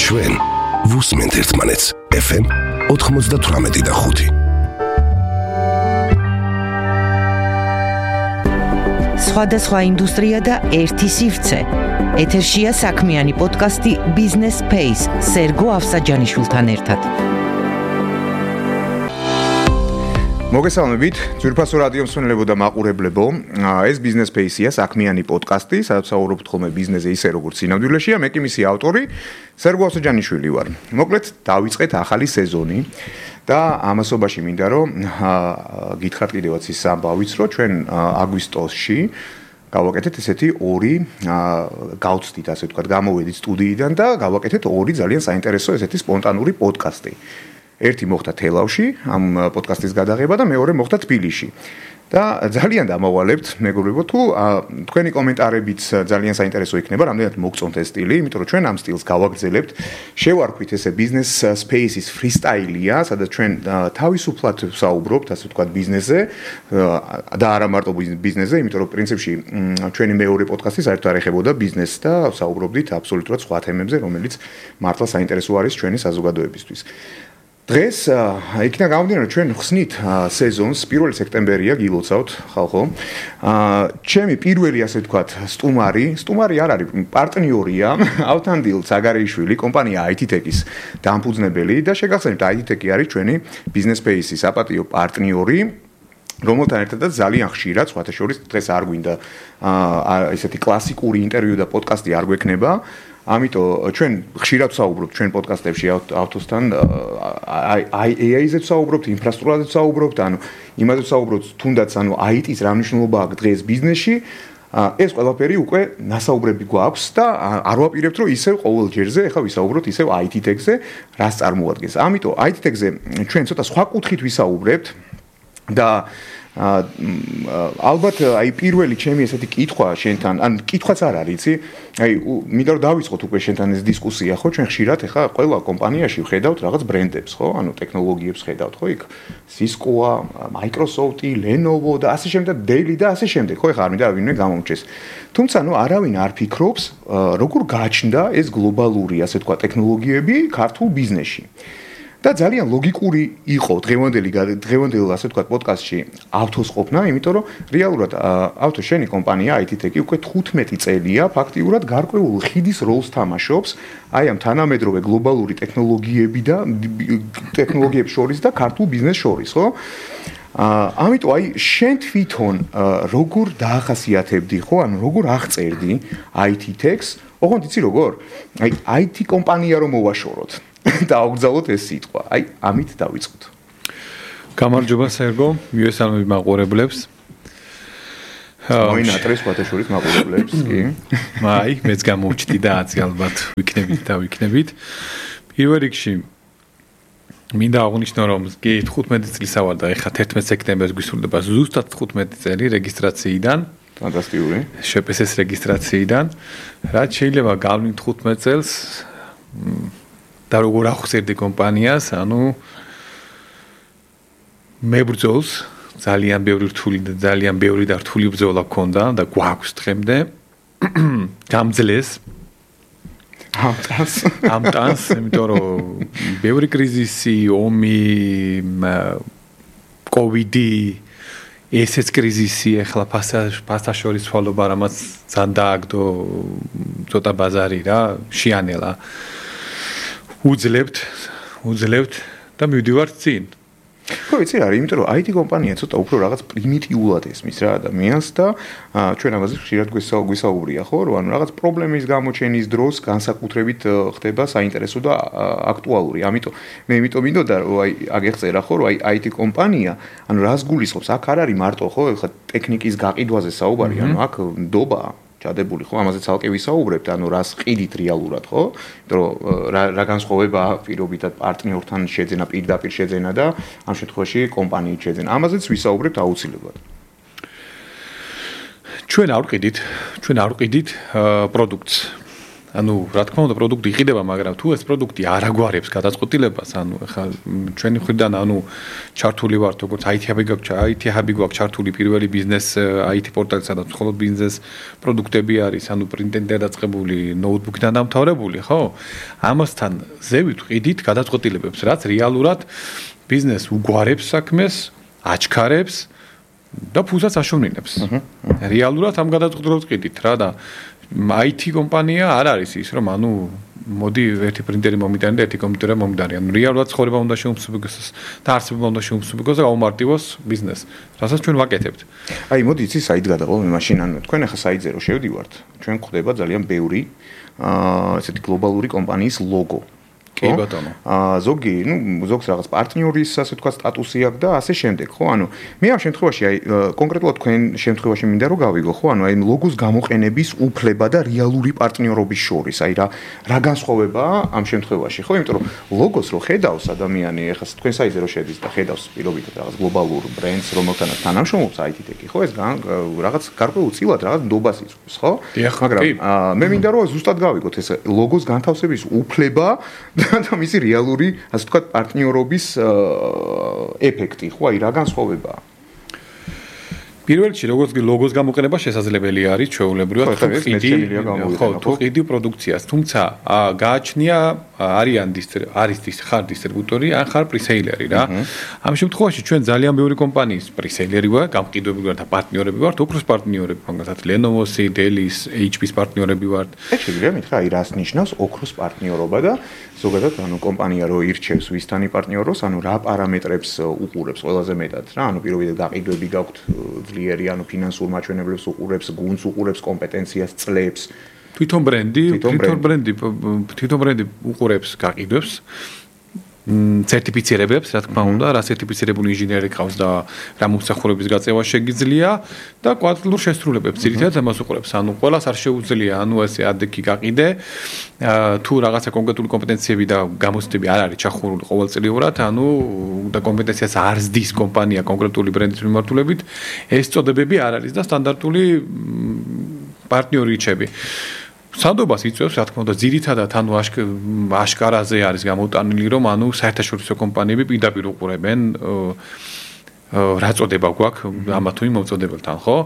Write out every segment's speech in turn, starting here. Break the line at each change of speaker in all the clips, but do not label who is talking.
ჩვენ ვუსმენთ ერთმანეთს FM 98.5.
სხვადასხვა ინდუსტრია და ერთი სივრცე. ეთერშია საქმიანი პოდკასტი Business Space სერგო ავსაჯანიშვილთან ერთად.
მოგესალმებით, ძვირფასო რადიო მსმენელებო და მაყურებლებო. ეს Business Space-ია საქმიანი პოდკასტი, სადაც საუბრობთ ხოლმე ბიზნესზე ისე როგორც სინამდვილეშია. მე კი მისი ავტორი სერგო ავსაჯანიშვილი ვარ. მოკლედ, დავიწყეთ ახალი სეზონი და ამასობაში მინდა რომ გითხრათ კიდევაც ის ამბავიც, რომ ჩვენ აგვისტოში გავაკეთეთ ესეთი ორი გავცდით, ასე ვთქვათ, გამოვედით სტუდიიდან და გავაკეთეთ ორი ძალიან საინტერესო ესეთი სპონტანური პოდკასტი. ერთი მოხდა თელავში, ამ პოდკასტის გადაღება და მეორე მოხდა თბილისში. და ძალიან დამავალებთ, მეგობრებო, თუ თქვენი კომენტარებიც ძალიან საინტერესო იქნება, რამდენად მოგწონთ ეს სტილი, იმიტომ რომ ჩვენ ამ სტილს გავაგრძელებთ. შევარქვით ესე Business Space-ის freestyle-ია, სადაც ჩვენ თავისუფლად ვსაუბრობთ, ასე ვთქვათ, ბიზნესზე და არა მარტო ბიზნესზე, იმიტომ რომ პრინციპში ჩვენი მეორე პოდკასტი საერთოდ არ ეხებოდა ბიზნესს და ვსაუბრობდით აბსოლუტურად სხვა თემებზე, რომელიც მართლა საინტერესო არის ჩვენი საზოგადოებისთვის. დღეს იქნა გამომდინარე რომ ჩვენ ხსნით სეზონს 1 სექტემბერია გილოცავთ ხალხო. ჩემი პირველი ასე ვთქვათ სტუმარი არ არის პარტნიორია ავთანდილ ცაგარეიშვილი კომპანია IT-Tech-ის დამფუძნებელი და შეგახსენებთ IT-Tech-ი არის ჩვენი Business Space-ის საპატიო პარტნიორი რომელთან ერთადაც ძალიან ხშირად სხვათა შორის დღეს არ გვინდა ესეთი კლასიკური ინტერვიუ და პოდკასტი არ გვექნება. ამიტომ ჩვენ ხშირად ვსაუბრობთ ჩვენ პოდკასტებში ავტოსთან AI-ზე ვსაუბრობთ, ინფრასტრუქტურაზე ვსაუბრობთ, ანუ იმაზე ვსაუბრობთ თუნდაც ანუ IT-ს რა მნიშვნელობა აქვს დღეს ბიზნესში. ეს ყველაფერი უკვე ნასაუბრები გვაქვს და არ ვაპირებთ რომ ისევ ყოველ ჯერზე ახლა ვისაუბროთ ისევ IT-Tech-ზე, რას წარმოადგენს. ამიტომ IT-Tech-ზე ჩვენ ცოტა სხვა კუთხით ვისაუბრებთ და ალბათ აი პირველი ჩემი ესეთი კითხვა შენთან, ან კითხვაც არ არის, იცი? აი მინდა რომ დავიწყოთ უკვე შენთან ეს დისკუსია, ხო? ჩვენ ხშირად ახლა ყველა კომპანიაში ვხედავთ რაღაც ბრენდებს, ხო? ანუ ტექნოლოგიებს ხედავთ, ხო? იქ Cisco-ა, Microsoft-ი, Lenovo და ასე შემდეგ, Dell და ასე შემდეგ, ხო? ახლა არ მინდა ვინმე გამომჩეს. თუმცა ნუ არავინ არ ფიქრობს, როგორ გაჩნდა ეს გლობალური, ასე თქვა, ტექნოლოგიები ქართულ ბიზნესში. და ძალიან ლოგიკური იყო დღევანდელ ასე ვთქვათ პოდკასტში ავთოს ყოფნა, იმიტომ რომ რეალურად ავთო შენი კომპანია IT-Tech-ი უკვე 15 წელია ფაქტიურად გარკვეულ ხიდის როლს თამაშობს აი ამ თანამედროვე გლობალური ტექნოლოგიებს შორის და ქართულ ბიზნესს შორის, ხო? ამიტომ აი შენ თვითონ როგორ დაახასიათებდი, ხო? ანუ როგორ აღწერდი IT-Tech-ს? ოღონდ იცი როგორ? აი IT კომპანია რომ მოვაშოროთ და აღგზავნოთ ეს სიტყვა. აი, ამით დავიწყოთ.
გამარჯობა სერგო, მივესალმები მაყურებლებს.
მოინატრეს ფათაშორის მაყურებლებს, კი.
აი, მეც გამოვჩდი და აცი ალბათ ვიქნებით. პირველ რიგში მინდა აღნიშნო რომ კი 15 წლის ავარ და ეხლა 11 სექტემბერს გვისურვდება ზუსტად 15 წელი რეგისტრაციიდან.
ფანტასტიკური.
შპს-ის რეგისტრაციიდან. რაც შეიძლება გავლინთ 15 წელს და როგორ ახსენდი კომპანიას, ანუ მებრძოლს ძალიან ბევრი რთული და ძალიან ბევრი და რთული ბრძოლა ჰქონდა და გვაქვს დღემდე. გამძლეს ამტანს, იმიტომ რომ ბევრი კრიზისი, ომი, COVID-ი, ესეც კრიზისი, ახლა ფასაშორის ცვალობა, რამაც ძალიან დააგდო ცოტა ბაზარი რა, შეანელა. უძლებთ და მივდივართ წინ.
ხო, იცი რა, იმიტომ რომ IT კომპანია ცოტა უფრო რაღაც პრიმიტიულად ესმის რა ადამიანს და ჩვენ ამაზე ხშირად გვისაუბრია, ხო, რომ ანუ რაღაც პრობლემის გამოჩენის დროს განსაკუთრებით ხდება საინტერესო და აქტუალური. ამიტომ მე მინდოდა რომ აი აგეხწერა, ხო, რომ აი IT კომპანია, ანუ რას გულისხმობს? აქ არ არის მარტო, ხო, ხა ტექნიკის გაყიდვაზე საუბარი, ანუ აქ ნდობაა ჩადებული, ხო, ამაზე ცალკე ვისაუბრებთ, ანუ რას ყიდით რეალურად, ხო? იმიტომ რომ რა განსხვავებაა პირობითად პარტნიორთან შეძენა, პირდაპირ შეძენა და ამ შემთხვევაში კომპანიით შეძენა. ამაზეც ვისაუბრებთ აუცილებლად.
ჩვენ არ ვყიდით პროდუქტს. ანუ რა თქმა უნდა პროდუქტი იყიდება, მაგრამ თუ ეს პროდუქტი არ აგვარებს გადაწყვეტილებას, ანუ ეხლა ჩვენი მხრიდან ანუ ჩართული ვართ როგორც IT hub-ი გვაქვს ჩართული პირველი ბიზნეს IT პორტალი, სადაც მხოლოდ ბიზნეს პროდუქტები არის, ანუ პრინტენდერ დაწყებული, ნოუთბუქიდან დამთავრებული, ხო? ამასთან ზევით ვყიდით გადაწყვეტილებებს, რაც რეალურად ბიზნეს უგვარებს საქმეს, აჩქარებს და ფულსაც აშოვნინებს. რეალურად ამ გადაწყვეტილებას ვყიდით რა და IT კომპანია არ არის ის, რომ ანუ მოდი ერთი პრინტერი მომიტანე და ერთი კომპიუტერი მომიტანე. ანუ რეალურად ცხოვრება უნდა შეუმსუბუქოს და არსება უნდა შეუმსუბუქოს და გაუმარტივოს ბიზნესს, რასაც ჩვენ ვაკეთებთ.
აი, მოდი იცი საით გადავალ მე მაშინ, ანუ თქვენ ახლა საიტზე რო შევდივართ, ჩვენ გვხვდება ძალიან ბევრი ესეთი გლობალური კომპანიის ლოგო.
კი ბატონო.
ზოგი, ზოგს რაღაც პარტნიორის, ასე თქვა, სტატუსი აქვს და ასე შემდეგ, ხო? ანუ მე ამ შემთხვევაში აი კონკრეტულად თქვენ შემთხვევაში მინდა რომ გავიგო, ხო? ანუ აი ლოგოს გამოყენების უფლება და რეალური პარტნიორობის შორის, აი რა განსხვავებაა ამ შემთხვევაში, ხო? იმიტომ რომ ლოგოს რო ხედავს ადამიანი, ეხლა თქვენ საიტზე რო შედის და ხედავს პირობითად რაღაც გლობალურ ბრენდს, რომელთანაც თანამშრომლობს IT-ტექი, ხო? ეს რაღაც გარკვეულწილად რაღაც ნდობას იწვევს, ხო? მაგრამ მე მინდა რომ ზუსტად გავიგოთ ეს ლოგოს განთავსების უფლება და მისი რეალური, ასე ვთქვათ, პარტნიორობის ეფექტი, ხო, აი რა განსხვავებაა?
პირველ რიგში როგორც ლოგოს გამოყენება შესაძლებელი არის ჩვეულებრივად თუ ყიდი პროდუქციას, თუმცა გააჩნია არის ხარ დისტრიბუტორი, ან ხარ პრისეილერი რა. ამ შემთხვევაში ჩვენ ძალიან ბევრი კომპანიის პრისეილერი ვარ, გამყიდვები ვართ და პარტნიორები ვართ, ოქროს პარტნიორები, მაგალითად Lenovo-ს, Dell-ის, HP-ს პარტნიორები ვართ.
ეს შეგვიძლია მითხრა, აი რას ნიშნავს ოქროს პარტნიორობა და ზოგადად ანუ კომპანია რო ირჩევს ვისთან იპარტნიოროს, ანუ რა პარამეტრებს უყურებს ყველაზე მეტად რა, ანუ პირველად გაყიდვები გაქვთ ძლიერი, ანუ ფინანსურ მაჩვენებლებს უყურებს, გუნდს უყურებს, კომპეტენციას წლებს.
თვითონ ბრენდი უყურებს გაყიდვებს, სერტიფიცირებებს, რა თქმა უნდა, რა სერტიფიცირებული ინჟინერი ყავს და რა მომსახურების გაწევა შეგიძლია და კვადრატულ შესრულებებს ძირითადად ამას უყურებს. ანუ ყველას არ შეუძლია, ანუ ესე ადექი გაყიდე, თუ რაღაცა კონკრეტული კომპეტენციები და გამოცდები არ არის ჩახურული ყოველწლიურად, ანუ და კომპეტენციას არ ზდის კომპანია კონკრეტული ბრენდის მიმართულებით, ეს წოდებები არ არის და სტანდარტული პარტნიორი რჩები. სანდობას იწევს, რა თქმა უნდა, ძირითადად ანუ აშკარაზე არის გამოტანილი, რომ ანუ საერთაშორისო კომპანიები პირდაპირ უყურებენ რა წოდება გვაქვს ამა თუ იმ მოწოდებელთან, ხო?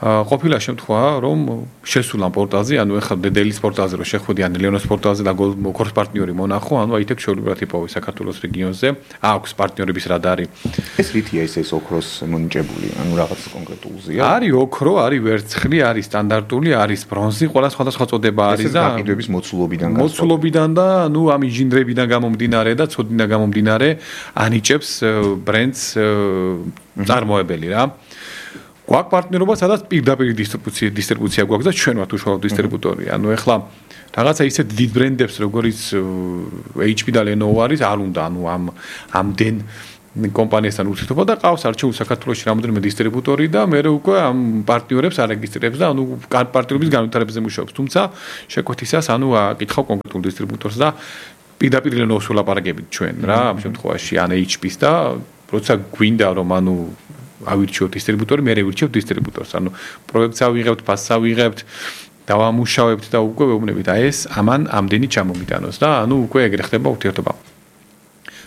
ყოფილა შემთხვევა, რომ შესულან პორტალზე, ანუ ეხლა Dell-ის პორტალზე რო შეხვედი, ან Lenovo-ის პორტალზე და ოქროს პარტნიორი მონახო, ანუ IT-ს შეუძლებლად იპოვე საქართველოს რეგიონზე, აქვს პარტნიორების რადარი.
ეს რითია ეს ოქროს მონიჭებული, ანუ რაღაც კონკრეტულზეა?
არის ოქრო, არის ვერცხლი, არის სტანდარტული, არის ბრონზი, ყველა სხვადასხვა წოდება არის და
გაყიდვების
მოცულობიდან და ანუ ამ ინჟინერებიდან გამომდინარე და ცოდნიდან გამომდინარე ანიჭებს ბრენდს წარმოებელი რა. გვაქვს პარტნიორობა, სადაც პირდაპირ დისტრიბუცია გვაქვს და ჩვენ ვართ უშუალო დისტრიბუტორი. ანუ ეხლა რაღაცა ისეთ დიდ ბრენდებს, როგორც HP და Lenovo არის, არ უნდა, ანუ ამდენ კომპანიასთან ურთიერთობა და ყავს არჩეული საქართველოში რამოდენიმე დისტრიბუტორი და მე უკვე ამ პარტნიორებს არეგისტრირებს და ანუ პარტნიორების განვითარებაზე მუშაობს. თუმცა შეკვეთისას ანუ აკითხავ კონკრეტულ დისტრიბუტორს და პირდაპირ Lenovo-ს ვლაპარაკებით ჩვენ რა, ამ შემთხვევაში ან HP-ს და როცა გვინდა რომ ანუ ავირჩიოთ დისტრიბუტორი, მე ვირჩევ დისტრიბუტორს. ანუ პროექტს ავიღებთ, ფასს ავიღებთ, დავამუშავებთ და უკვე ვეუბნებით, აი ეს ამან ამდენი ჩამომიტანოს და ანუ უკვე ეგრე ხდება ურთიერთობა.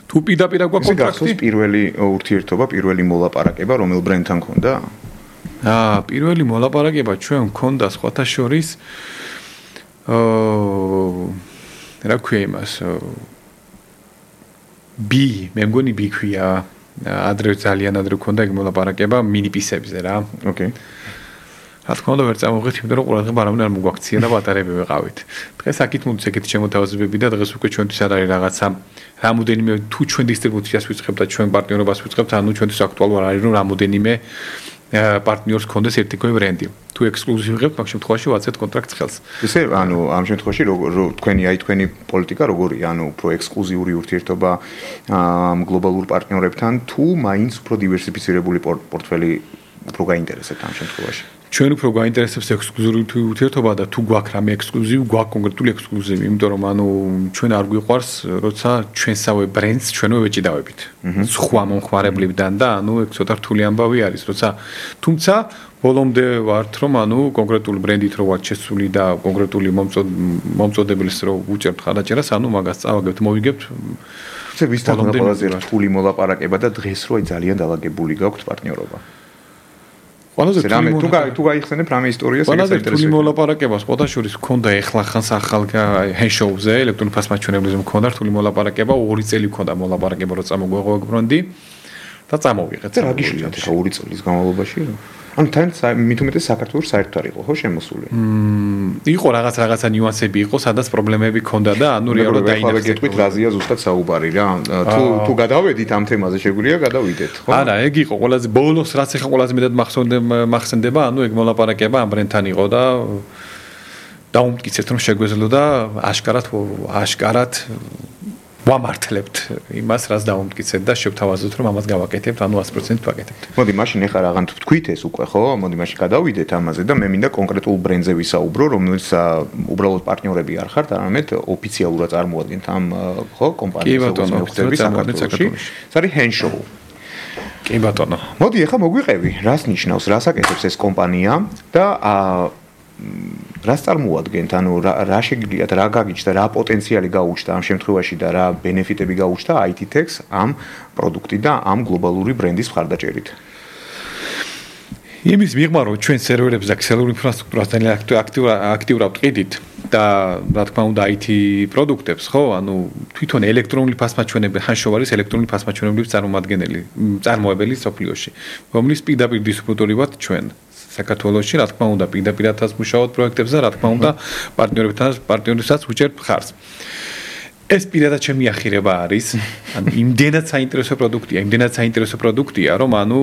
თუ პირდაპირ გვაქვს კონტრაქტი,
პირველი ურთიერთობა, პირველი მოლაპარაკება რომელ ბრენდთან ქონდა?
პირველი მოლაპარაკება ჩვენ ქონდა სხვათა შორის რა ქვია იმას? მე მგონი ქვია ძალიან ადრე ქონდა ეგ მოლაპარაკება მინიპისებზე რა.
ოკეი.
რა თქმა უნდა ვერ წამოვღეთ, იმიტომ რომ ყურადღება არავინ არ მოგვაქცია და ბატარეები ვეყავით. დღეს აქეთ მოდის ეგეთი შემოთავაზებები და დღეს უკვე ჩვენთვის არ არის რაღაცა რამოდენიმე თუ ჩვენ დისტრიბუციას ვიწყებთ და ჩვენ პარტნიორობას ვიწყებთ, ანუ ჩვენთვის აქტუალურ არის რომ რამოდენიმე პარტნიორს ქონდეს ერთიქვე ბრენდი. თუ ექსკლუზივი ვიღებთ, მაგ შემთხვევაში ვაცეთ კონტრაქტს ხელს.
ესე ანუ ამ შემთხვევაში თქვენი პოლიტიკა როგორია? ანუ უფრო ექსკლუზიური ურთიერთობა ამ გლობალურ პარტნიორებთან თუ მაინც უფრო დივერსიფიცირებული პორტფელი უფრო გაინტერესებთ ამ შემთხვევაში?
ჩვენ უფრო გაინტერესებს ექსკლუზიური ურთიერთობა და თუ გვაქვს რამე ექსკლუზივი, გვაქვს კონკრეტული ექსკლუზივი, იმიტომ რომ ანუ ჩვენ არ გვიყვარს, როცა ჩვენსავე ბრენდს ჩვენო ვეჭიდავებით. სხვა მომხმარებლებიდან და ანუ ეგ ცოტა რთული ამბავი არის, როცა თუმცა ბოლომდე ვართ რომ ანუ კონკრეტული ბრენდით რო ვართ შესული და კონკრეტული მომწოდებლის რო უჭერთ ხარაჯერას, ანუ მაგას წავაგებთ, მოვიგებთ.
ვისთან ყველაზე რთული მოლაპარაკება და დღეს რო ძალიან დაალაგებული გაქვთ პარტნიორობა.
ყველაზე
თუ გაიხსენებ რამე ისტორიას ეგეც
ინტერესებს. ყველაზე მოლაპარაკებას პოტაშურის მქონდა ეხლახანს ახალ ჰენშოუზე ელექტრონული ფასმაჩვენებლებზე მქონდა რთული მოლაპარაკება, 2 წელი მქონდა მოლაპარაკება რო წამოგვეღო ბრენდი და წამოვიღეთ.
რა გიშლით ხა 2 წლის განმავლობაში? ანუ თან მით უმეტეს საქართველოს საერთოდ არ იყო ხო შემოსული?
იყო რაღაცა ნიუანსები იყო, სადაც პრობლემები ქონდა და ანუ რეალურად
დაინახეთ. გეტყვით რაზეა ზუსტად საუბარი რა. თუ გადავედით ამ თემაზე შეგვიძლია გადავიდეთ, ხო?
არა, ეგ იყო ყველაზე ბოლოს რაც ახლა ყველაზე მეტად მახსენდება, ანუ ეგ მოლაპარაკება ამ ბრენდთან იყო და დაუმტკიცეთ რომ შეგვეძლო აშკარად ვამართლებთ იმას, რაც დაუმტკიცეთ და შევთავაზოთ რომ ამას გავაკეთებთ, ანუ 100% ვაკეთებთ.
მოდი, მაშინ ეხლა რაღაც თქვით ეს უკვე, ხო? მოდი, მაშინ გადავიდეთ ამაზე და მე მინდა კონკრეტულ ბრენდზე ვისაუბრო, რომელიც უბრალოდ პარტნიორები არ ხართ, არამედ ოფიციალურად წარმოადგენთ ამ ხო კომპანიას საქართველოში. ეს არის Henshow.
კი ბატონო.
მოდი, ეხლა მოგვიყევი, რას ნიშნავს, რას აკეთებს ეს კომპანია და რას წარმოადგენთ, ანუ რა შეგიძლიათ, რა გაგიჩნდა, რა პოტენციალი გაუჩნდა ამ შემთხვევაში და რა ბენეფიტები გაუჩნდა IT-Tech ამ პროდუქტი და ამ გლობალური ბრენდის მხარდაჭერით.
იმის მიღმა რომ ჩვენ სერვერებს და ქსელურ ინფრასტრუქტურას აქტიურად ვყიდით და რა თქმა უნდა IT პროდუქტებს, ხო? ანუ თვითონ ელექტრონული ფასმაჩვენებელი Henshow არის ელექტრონული ფასმაჩვენებლების წარმოებელი სოფლიოში, რომლის პირდაპირ დისტრიბუტორი ვართ ჩვენ. საქართველოში, რა თქმა უნდა, პირდაპირადაც მუშაობთ პროექტებზე და რა თქმა უნდა, პარტნიორებთან ვუჭერთ მხარს. ეს პირადად ჩემი ახირება არის, ანუ იმდენად საინტერესო პროდუქტია, რომ ანუ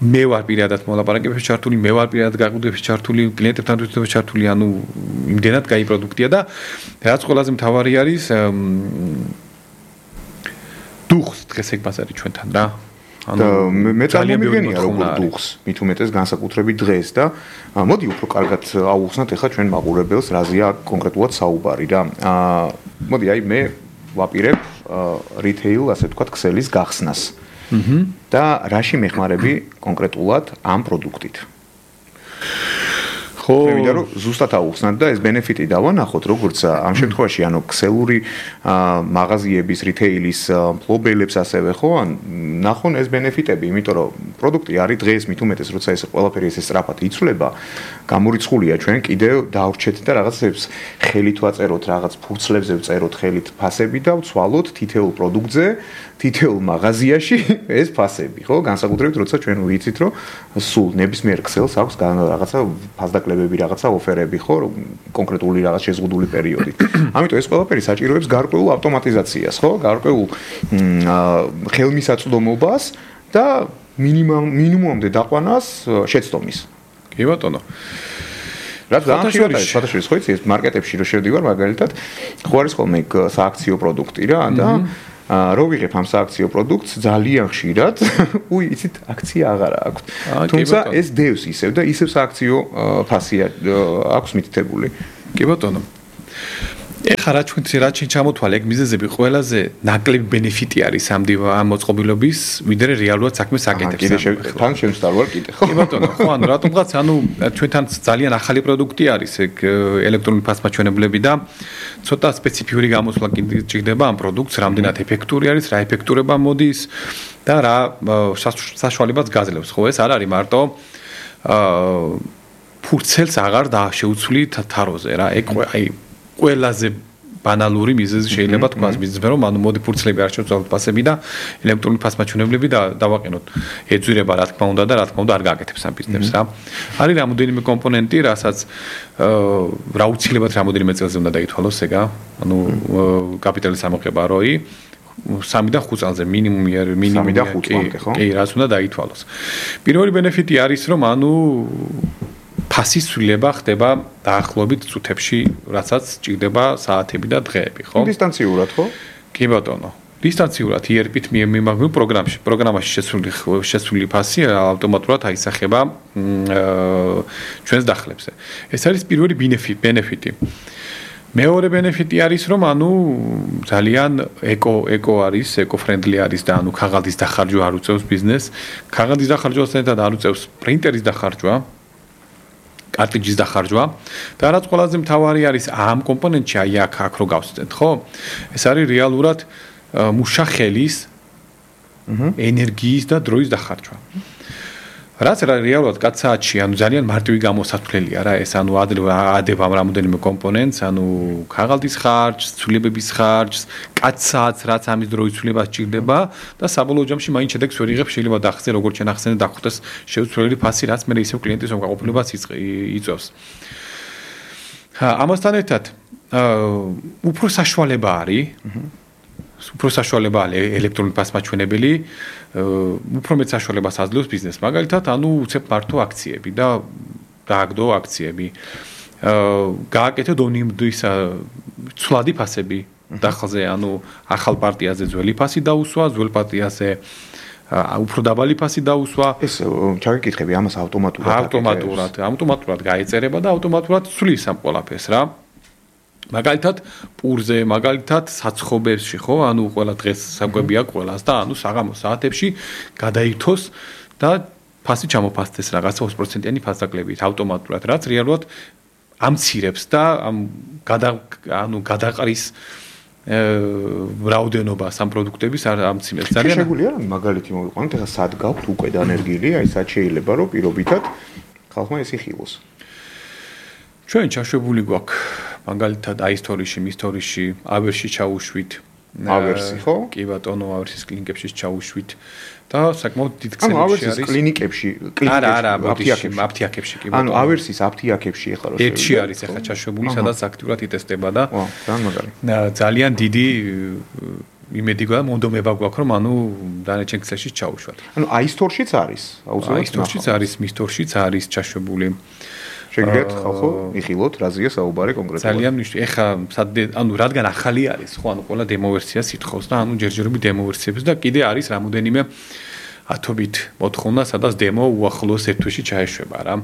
მე ვარ პირადად მოლაპარაკებებში ჩართული, მე ვარ პირადად გაყიდვებში ჩართული, კლიენტებთან თვითონაც ჩართული, ანუ იმდენად კაი პროდუქტია და რაც ყველაზე მთავარი არის დუხს დღეს ეგ ბაზარი ჩვენთან რა.
და მე წარმომიდგენია როგორ დუხს, მით უმეტეს განსაკუთრებით დღეს და მოდი უფრო კარგად აუხსნათ ახლა ჩვენ მაყურებელს რაზეა კონკრეტულად საუბარი რა. მოდი აი მე ვაპირებ რიტეილ, ასე ვთქვათ, ქსელის გახსნას. და რაში მეხმარები კონკრეტულად ამ პროდუქტით? ხო, მე მინდა რომ ზუსტად აუხსნათ და ეს ბენეფიტი დავანახოთ, როგორც ამ შემთხვევაში, ანუ ქსელური მაღაზიების, რიტეილის მფლობელებს ასევე ხო, ან ნახონ ეს ბენეფიტები, იმიტომ რომ პროდუქტი არის დღეს მით უმეტეს, როცა ეს ყველაფერი ესე სწრაფად იცვლება, გამორიცხულია ჩვენ კიდევ დავრჩეთ და რაღაცებს ხელით ვაწეროთ, რაღაც ფურცლებზე ვწეროთ ხელით ფასები და ვცვალოთ თითოეულ პროდუქტზე, თითოეულ მაღაზიაში ეს ფასები, ხო? განსაკუთრებით როცა ჩვენ ვიცით, რომ სულ ნებისმიერ ქსელს აქვს რაღაცა ფასდაკლებები, რაღაცა ოფერები, ხო, კონკრეტული რაღაც შეზღუდული პერიოდით. ამიტომ ეს ყველაფერი საჭიროებს გარკვეულ ავტომატიზაციას, ხო? გარკვეულ ხელმისაწვდომობას და მინიმუმამდე დაყვანას შეცდომის.
კი ბატონო.
რაც განხილვადა ეს ფათაშორის ხო იცი ეს მარკეტებში რო შევდივარ მაგალითად ხო არის ხოლმე სააქციო პროდუქტი რა და რო ვიღებ ამ სააქციო პროდუქტს ძალიან ხშირად იცით აქცია აღარა აქვს თუმცა ეს დევს ისევ და ისევ სააქციო ფასია აქვს მითითებული
კი ბატონო ეხლა რა ჩვენ ჩამოთვალე ეგ მიზეზები ყველაზე ნაკლები ბენეფიტი არის ამ მოწყობილობის ვიდრე რეალურად საქმეს აკეთებს
თან შემსწავლ კიდე ხო
კი ბატონო ხო ანუ რატომღაც ანუ ჩვენთან ძალიან ახალი პროდუქტი არის ეგ ელექტრონული ფასმაჩვენებლები და ცოტა სპეციფიური გამოსვლა ჭირდება ამ პროდუქტს რამდენად ეფექტური არის რა ეფექტურება მოდის და რა საშუალებაც გაძლევს ხო ეს არ არის მარტო ფურცელს აღარ დააშეუცვლი თაროზე რა ეგ აი ყველაზე ბანალური მიზეზი შეიძლება თქვას მიზეზი რომ ანუ მოდი ფურცლები არ შევცვალოთ ფასები და ელექტრონული ფასმაჩვენებლები დავაყენოთ ეძვირება რა თქმა უნდა და რა თქმა უნდა არ გააკეთებს ამ ბიზნესს რა არის რამოდენიმე კომპონენტი რასაც რა უცილებლად რამოდენიმე წელზე უნდა დაითვალოს ეგა ანუ კაპიტალის ამოღება როი 3 და 5 წელზე მინიმუმი არის მინიმუმი
3 და 5 წელზე ხო
კი რაც უნდა დაითვალოს პირველი ბენეფიტი არის რომ ანუ ფასის ცვლილება ხდება დაახლოებით წუთებში, რასაც ჭირდება საათები და დღეები, ხო?
დისტანციურად, ხო?
კი ბატონო. დისტანციურად ERP-ით მიმაგრებულ პროგრამაში შესული ფასი ავტომატურად აისახება ჩვენს დახლებზე. ეს არის პირველი ბენეფიტი. მეორე ბენეფიტი არის, რომ ანუ ძალიან ეკო არის, ეკო-ფრენდლი არის და ანუ ქაღალდის დახარჯვა არ უწევს ბიზნესს. ქაღალდის დახარჯვასთან ერთად არ უწევს პრინტერის დახარჯვა, კარტიჯის დახარჯვა და რაც ყველაზე მთავარი არის ამ კომპონენტში აი აქ რო გავსწრებთ, ხო? ეს არის რეალურად მუშა ხელის ენერგიის და დროის დახარჯვა. რაც რეალურად კაცსაათში, ანუ ძალიან მარტივი გამოსათვლელია რა, ეს ანუ ადებ ამ რამოდენიმე კომპონენტს, ანუ ქაღალდის ხარჯს, ცვლილებების ხარჯს, კაცსაათს, რაც ამის დროის ცვლილებას სჭირდება და საბოლოო ჯამში მაინც შედეგს ვერ იღებ, შეიძლება დახსნე, როგორც შენ ახსენე, დახუტეს შეუცვლელი ფასი, რაც მე ისევ კლიენტის უკმაყოფილებას იწვევს. ამასთან ერთად, უფრო საშუალება არის უფრო საშუალება ელექტრონული ფასმაჩვენებელი, უფრო მეტ საშუალებას აძლევს ბიზნესს. მაგალითად, ანუ უცებ მარტო აქციები და გააგდო აქციები. გააკეთე დონიმდის ცვლადი ფასები დახალზე, ანუ ახალ პარტიაზე ძველი ფასი დაუსვა, ძველ პარტიაზე უფრო დაბალი ფასი დაუსვა.
ეს ჩაგეკითხები ამას ავტომატურად გაეწერება და ავტომატურად ცვლის ამ ყველაფერს რა. მაგალითად პურზე, მაგალითად საცხობებში, ხო? ანუ ყველა დღეს საკვები აქვს ყველას და ანუ საღამოს საათებში გადაირთოს და ფასი ჩამოფასდეს რაღაცა 20%-იანი ფასდაკლებით ავტომატურად, რაც რეალურად ამცირებს და გადაყრის რაოდენობას ამ პროდუქტების ამცირებს. ძალიან შეგვიძლია მაგალითი მოვიყვანოთ, ეხლა სად გაქვთ უკვე დანერგილი, აი სად შეიძლება რომ პირობითად ხალხმა ეს იხილოს. ჩვენ ჩაშვებული გვაქვს მაგალითად აი ისტორიაში, ავერსში ჩაუშვით. ავერსი, ხო?
კი ბატონო, ავერსის კლინიკებში ჩაუშვით და საკმაოდ დიდ ქსელებში არის.
ავერსის კლინიკებში,
არა, აფთიაქებში კი ბატონო.
ანუ ავერსის აფთიაქებში ეხლა რო
ერთში არის ეხლა ჩაშვებული, სადაც აქტიურად იტესტება და
ძალიან მაგარი.
ძალიან დიდი იმედი გვაქვს, მონდომება გვაქვს, რომ ანუ დანარჩენ ქსელში ჩაუშვათ.
ანუ აი სტორშიც არის, აუცილებლად.
აი სტორშიც არის, მის სტორშიც არის ჩაშვებული.
შეგიძლიათ ხალხო იხილოთ, რაზეა საუბარი კონკრეტულად.
ძალიან მნიშვნელოვანი. ეხლა ანუ რადგან ახალი არის, ხო, ანუ ყველა დემო ვერსიას ითხოვს და ანუ ჯერჯერობით დემო ვერსიებს და კიდე არის რამოდენიმე ათობით მოთხოვნა, სადაც დემო უახლოეს ერთ თვეში ჩაეშვება რა.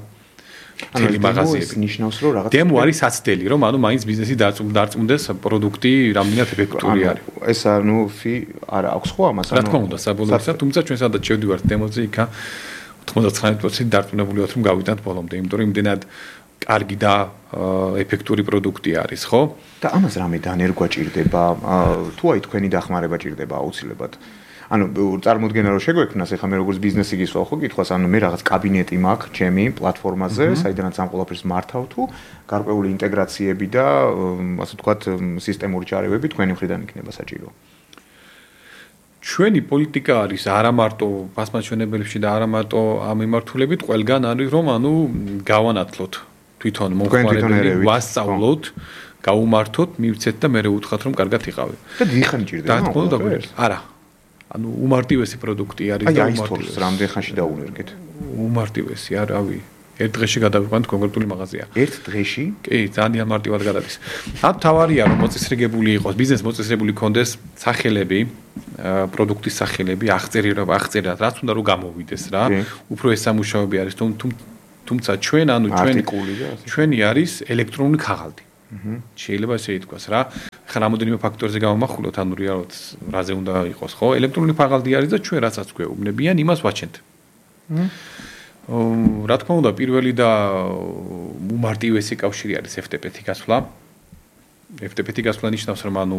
ანუ მაღაზიები ნიშნავს, რომ რაღაც
დემო არის საცდელი, რომ ანუ მაინც ბიზნესი დარწმუნდეს პროდუქტი რამდენად ეფექტური არის.
ეს ანუ არა აქვს ხო ამას?
რა თქმა უნდა, საბოლოოებისა, თუმცა ჩვენ სადაც შევდივართ დემოზე, იქა 99% დარწმუნებული ვართ, რომ გავიტანთ ბოლომდე, იმიტომ რომ იმდენად კარგი და ეფექტური პროდუქტი არის, ხო?
და ამას რამე დანერგვა ჭირდება, თუ აი თქვენი დახმარება ჭირდება აუცილებლად. ანუ წარმოუდგენა რომ შეგვექმნას, ეხლა მე როგორც ბიზნესი გისვავ ხო კითხვას, ანუ მე რაღაც კაბინეტი მაქვს ჩემი პლატფორმაზე, საიდანაც ამ ყველაფერს მართავ თუ გარკვეული ინტეგრაციები და ასე ვთქვათ, სისტემური ჩარევები თქვენი მხრიდან იქნება საჭირო. ჩვენი პოლიტიკა არის არა მარტო ფასმაჩვენებელებში და არა მარტო ამ მიმართულებით, ყველგან არის რომ ანუ გავანათლოთ თვითონ მომხმარებელი, ვასწავლოთ, გაუმართოთ, მივცეთ და მე უთხრათ რომ კარგად იყავი. და დიხანი ჭირდება.
რა თქმა უნდა, არა. ანუ უმარტივესი პროდუქტი არის
და უმარტივესი. რამდენ ხანში დაუნერგეთ?
უმარტივესი, არავი. ერთ დღეში გადავიყვანთ კონკრეტული მაღაზია.
ერთ დღეში?
კი, ძალიან მარტივად გადადის. ამ თავარია რომ მოწესრიგებული იყოს, ბიზნეს მოწესრიგებული კონდეს სახელები, პროდუქტის სახელები, აღწერა, რაც უნდა რომ გამოვიდეს რა. უფრო ეს სამუშაოები არის, თუმცა ჩვენ ჩვენი არის ელექტრონული ქაღალდი. შეიძლება ესე ითქვას რა. ხა რამოდენიმე ფაქტორზე გამომახვილოთ, ანუ რეალურად რაზე უნდა იყოს, ხო? ელექტრონული ქაღალდი არის და ჩვენ რასაც გვეუბნებიან, იმას ვაჩენთ. რა თქმა უნდა, პირველი და უმარტივესი კავშირი არის FTP-ი გასვლა. FTP-ი გასვლა ნიშნავს, რომ ანუ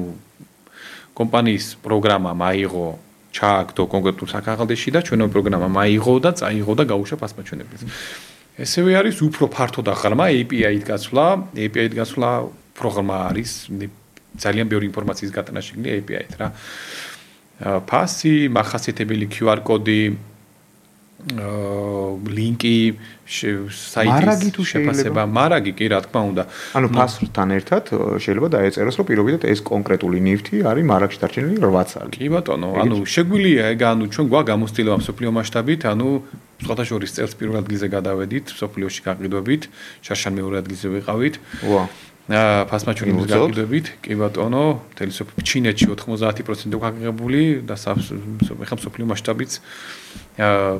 კომპანიის პროგრამა მაიღო, ჩააგდო კონკრეტულ საქაღალდეში და ჩვენო პროგრამა მაიღო და წაიღო და გაუშვა ფასმაჩვენებელს. ესევე არის უფრო ფართო და ღრმა API-ით გასვლა. API-ით გასვლა პროგრამა არის ძალიან ბევრი ინფორმაციის გატანა შეგვიძლია API-ით რა. ფასი, მახასიათებელი QR კოდი, ლინკი, საიტის შეფასება, მარაგი კი რა თქმა უნდა.
ანუ ფასთან ერთად შეიძლება დაეწეროს, რომ პირობითად ეს კონკრეტული ნივთი არის მარაგში დარჩენილი 8 წელი.
კი ბატონო, ანუ შეგვიძლია ეგ ანუ ჩვენ გვაქვს გამოცდილება მსოფლიო მასშტაბით, ანუ სხვათა შორის წელს პირველ ადგილზე გადავედით, მსოფლიოში გაყიდვებით, შარშან მეორე ადგილზე ვიყავით. ფასმაჩვენების გაყიდვებით, კი ბატონო, ჩინეთში 90% გაგებული და ეხლა მსოფლიო მასშტაბით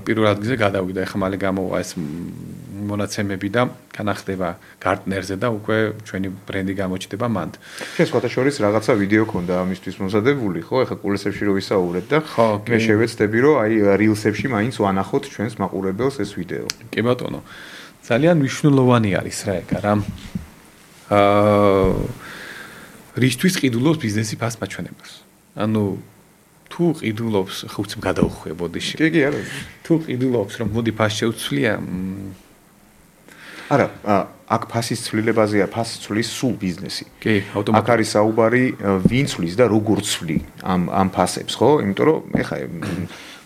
პირველ ადგილზე გადავიდა. ეხლა მალე გამოვა ეს მონაცემები და განახდება გარტნერზე და უკვე ჩვენი ბრენდი გამოჩნდება მანდ.
შენ სხვათა შორის რაღაცა ვიდეო ქონდა ამისთვის მომზადებული, ხო? ეხლა კულესებში რო ვისაუბრეთ და მე შევეცდები რომ აი rilsებში მაინც ვანახოთ ჩვენს მაყურებელს ეს ვიდეო.
კი ბატონო. ძალიან მნიშვნელოვანი არის რა ეგ რა. რისთვის ყიდულობს ბიზნესი ფასმაჩვენებას. ანუ თუ ყიდულობს, ხო უცებ გადაუხვია ბოდიში.
კი, არა.
თუ ყიდულობს, რომ მოდი ფასი შეუცვლია,
არა, აქ ფასის ცვლილებაზეა, ფასი ცვლის სულ ბიზნესი.
კი, ავტომატურად.
აქ არის საუბარი ვინ ცვლის და როგორ ცვლი ამ ფასებს, ხო? იმიტომ რომ ეხა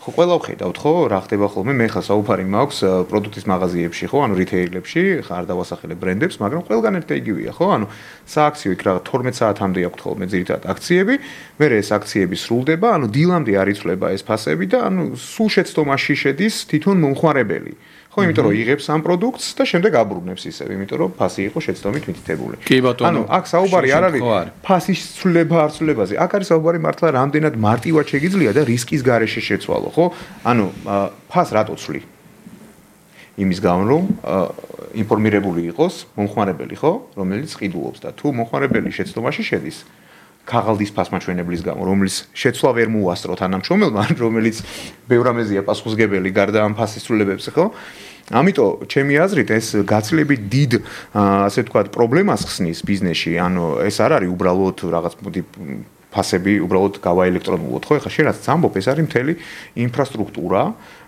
ხო ყველა ვხედავთ, ხო, რა ხდება ხოლმე, მე ხა საუბარი მაქვს პროდუქტის მაღაზიებში, ხო, ანუ რიტეილებში, ხა არ დავასახელებ ბრენდებს, მაგრამ ყველგან ერთ და იგივეა, ხო? ანუ სააქციო იქ რა 12 საათამდე აქვთ ხოლმე ძირითადად აქციები, მერე ეს აქციები სრულდება, ანუ დილამდე არ იცვლება ეს ფასები და ანუ სულ შეცდომაში შედის თვითონ მომხმარებელი. ხო, იმიტომ რომ იღებს ამ პროდუქტს და შემდეგ აბრუნებს ისევ, იმიტომ რომ ფასი იყო შეცდომით მითითებული.
კი ბატონო.
ანუ აქ საუბარი არ არის ფასის ცვლილება არ ცვლილებაზე. აქ არის საუბარი მართლა რამდენად მარტივად შეგიძლია და რისკის გარეშე შეცვალო, ხო? ანუ ფას რატო ცვლი? იმის გამო რომ ინფორმირებული იყოს მომხმარებელი, ხო, რომელიც ყიდულობს და თუ მომხმარებელი შეცდომაში შედის ქაღალდის ფასმაჩვენებლის გამო, რომელიც შეცვლა ვერ მოუასწრო თანამშრომელმა, რომელიც ბევრ რამეზეა პასუხისმგებელი გარდა ამ ფასის ცვლილებებს, ხო? ამიტომ ჩემი აზრით ეს გაცილებით დიდ ასე ვთქვათ პრობლემას ხსნის ბიზნესში, ანუ ეს არ არის უბრალოდ რაღაც მოდი ფასები უბრალოდ გავაელექტრონულოთ, ხო? ეხლა შენ რაც ამბობ, ეს არის მთელი ინფრასტრუქტურა,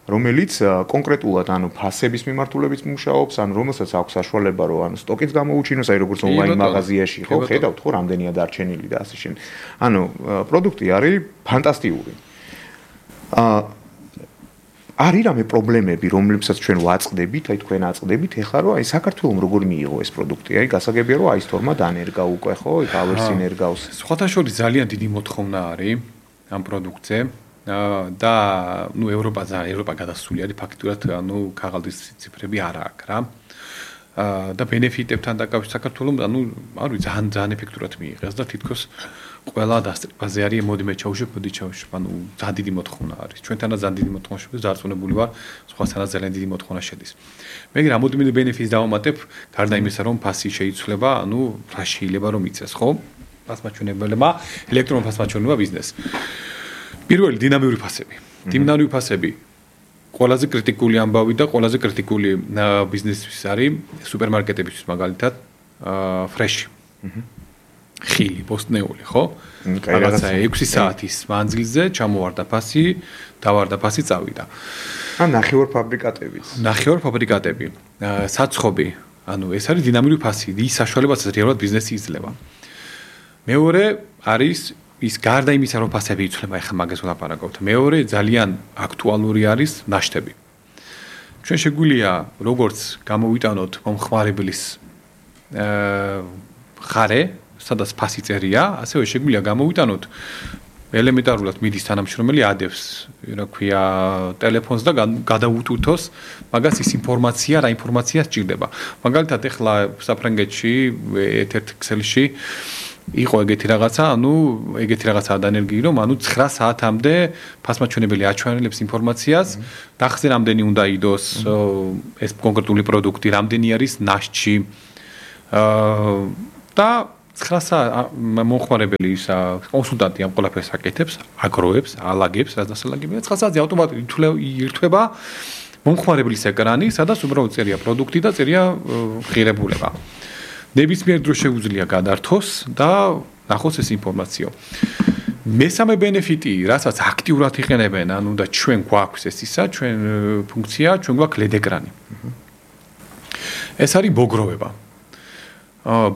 რომელიც კონკრეტულად ანუ ფასების მიმართულებით მუშაობს, ანუ რომელსაც აქვს საშუალება რომ ანუ სტოკიც გამოუჩინოს, აი როგორც ონლაინ მაღაზიაში, ხო, ხედავთ ხო, რამდენია დარჩენილი და ასე შენ. ანუ პროდუქტი არის ფანტასტიკური. არის რამე პრობლემები, რომლებსაც ჩვენ ვაწყდებით, აი თქვენ აწყდებით, ეხლა რომ აი საქართველოს როგორ მიიღო ეს პროდუქტი? აი გასაგებია რომ აი სტორმა დანერგა უკვე, ხო, იქ ავერსი ნერგავს.
სხვათა შორის ძალიან დიდი მოთხოვნა არის ამ პროდუქტზე. და ნუ ევროპა გადასული არის ფაქტურად, ანუ ქაღალდის ციფრები არ აქვს რა. და ბენეფიტებთან დაკავშირებით საქართველოს, ანუ არ ვიცი, ძალიან ეფექტურად მიიღეს და თითქოს ყველა დასწრებაზე არის მოდი მე ჩავშვებ, ანუ ძალიან დიდი მოთხოვნა არის. ჩვენთანაც ძალიან დიდი მოთხოვნა შედის, დარწმუნებული ვარ, სხვასთანაც ძალიან დიდი მოთხოვნა შედის. მე რამოდენიმე ბენეფიტს დავამატებ, გარდა იმისა, რომ ფასი შეიცვლება, ანუ რა შეიძლება რომ იცეს, ხო? ფასმაჩვენებელმა, ელექტრონულ ფასმაჩვენებელმა ბიზნესს. პირველი დინამიური ფასები. დინამიური ფასები ყველაზე კრიტიკული ამბავი და ყველაზე კრიტიკული ბიზნესთვის არის სუპერმარკეტებისთვის მაგალითად ფრეში. ხილი, პოსტნეული, ხო? რაღაცა 6 საათის მანძილზე ჩამოვარდა ფასი, დავარდა ფასი წავიდა.
ან ნახევარ ფაბრიკატებიც.
ნახევარ ფაბრიკატები, საცხობი, ანუ ეს არის დინამიური ფასი, ის საშუალებაც რეალურად ბიზნესი იძლევა. მეორე არის ის გარდა იმისა, რომ ფასები იცვლება, ახლა მაგას ვლაპარაკობთ. მეორე ძალიან აქტუალური არის ნაშთები. ჩვენ შეგვიძლია როგორც გამოვიტანოთ მომხმარებლის ხარე, სადაც ფასი წერია, ასევე შეგვიძლია გამოვიტანოთ ელემენტარულად მიდის თანამშრომელი ადევს, რა ქვია, ტელეფონს და გადაუტვირთოს მაგას ის ინფორმაცია, რა ინფორმაცია სჭირდება. მაგალითად, ახლა საფრანგეთში ერთ-ერთ ქსელში იყო ეგეთი რაღაცა, ანუ ეგეთი რაღაცაა დანერგი, რომ ანუ 9 საათამდე ფასმაჩვენებელი აჩვენებს ინფორმაციას, დახზე რამდენი უნდა იდოს ეს კონკრეტული პროდუქტი, რამდენი არის ნაშთში. და 9 საათ მომხმარებელი ისა კონსულტანტი ამ ყველაფერს აკეთებს, აგროვებს, ალაგებს, რაც დასალაგებია. 9 საათზე ავტომატურად ირთვება მომხმარებლის ეკრანი, სადაც უბრალოდ წერია პროდუქტი და წერია ღირებულება. ნებისმიერ დროს შეუძლია გადართოს და ნახოს ეს ინფორმაციო. მესამე ბენეფიტი, რასაც აქტიურად იყენებენ, ანუ და ჩვენ გვაქვს ეს ისა, ჩვენ ფუნქცია, ჩვენ გვაქვს LED ეკრანი. ეს არის მოგროვება.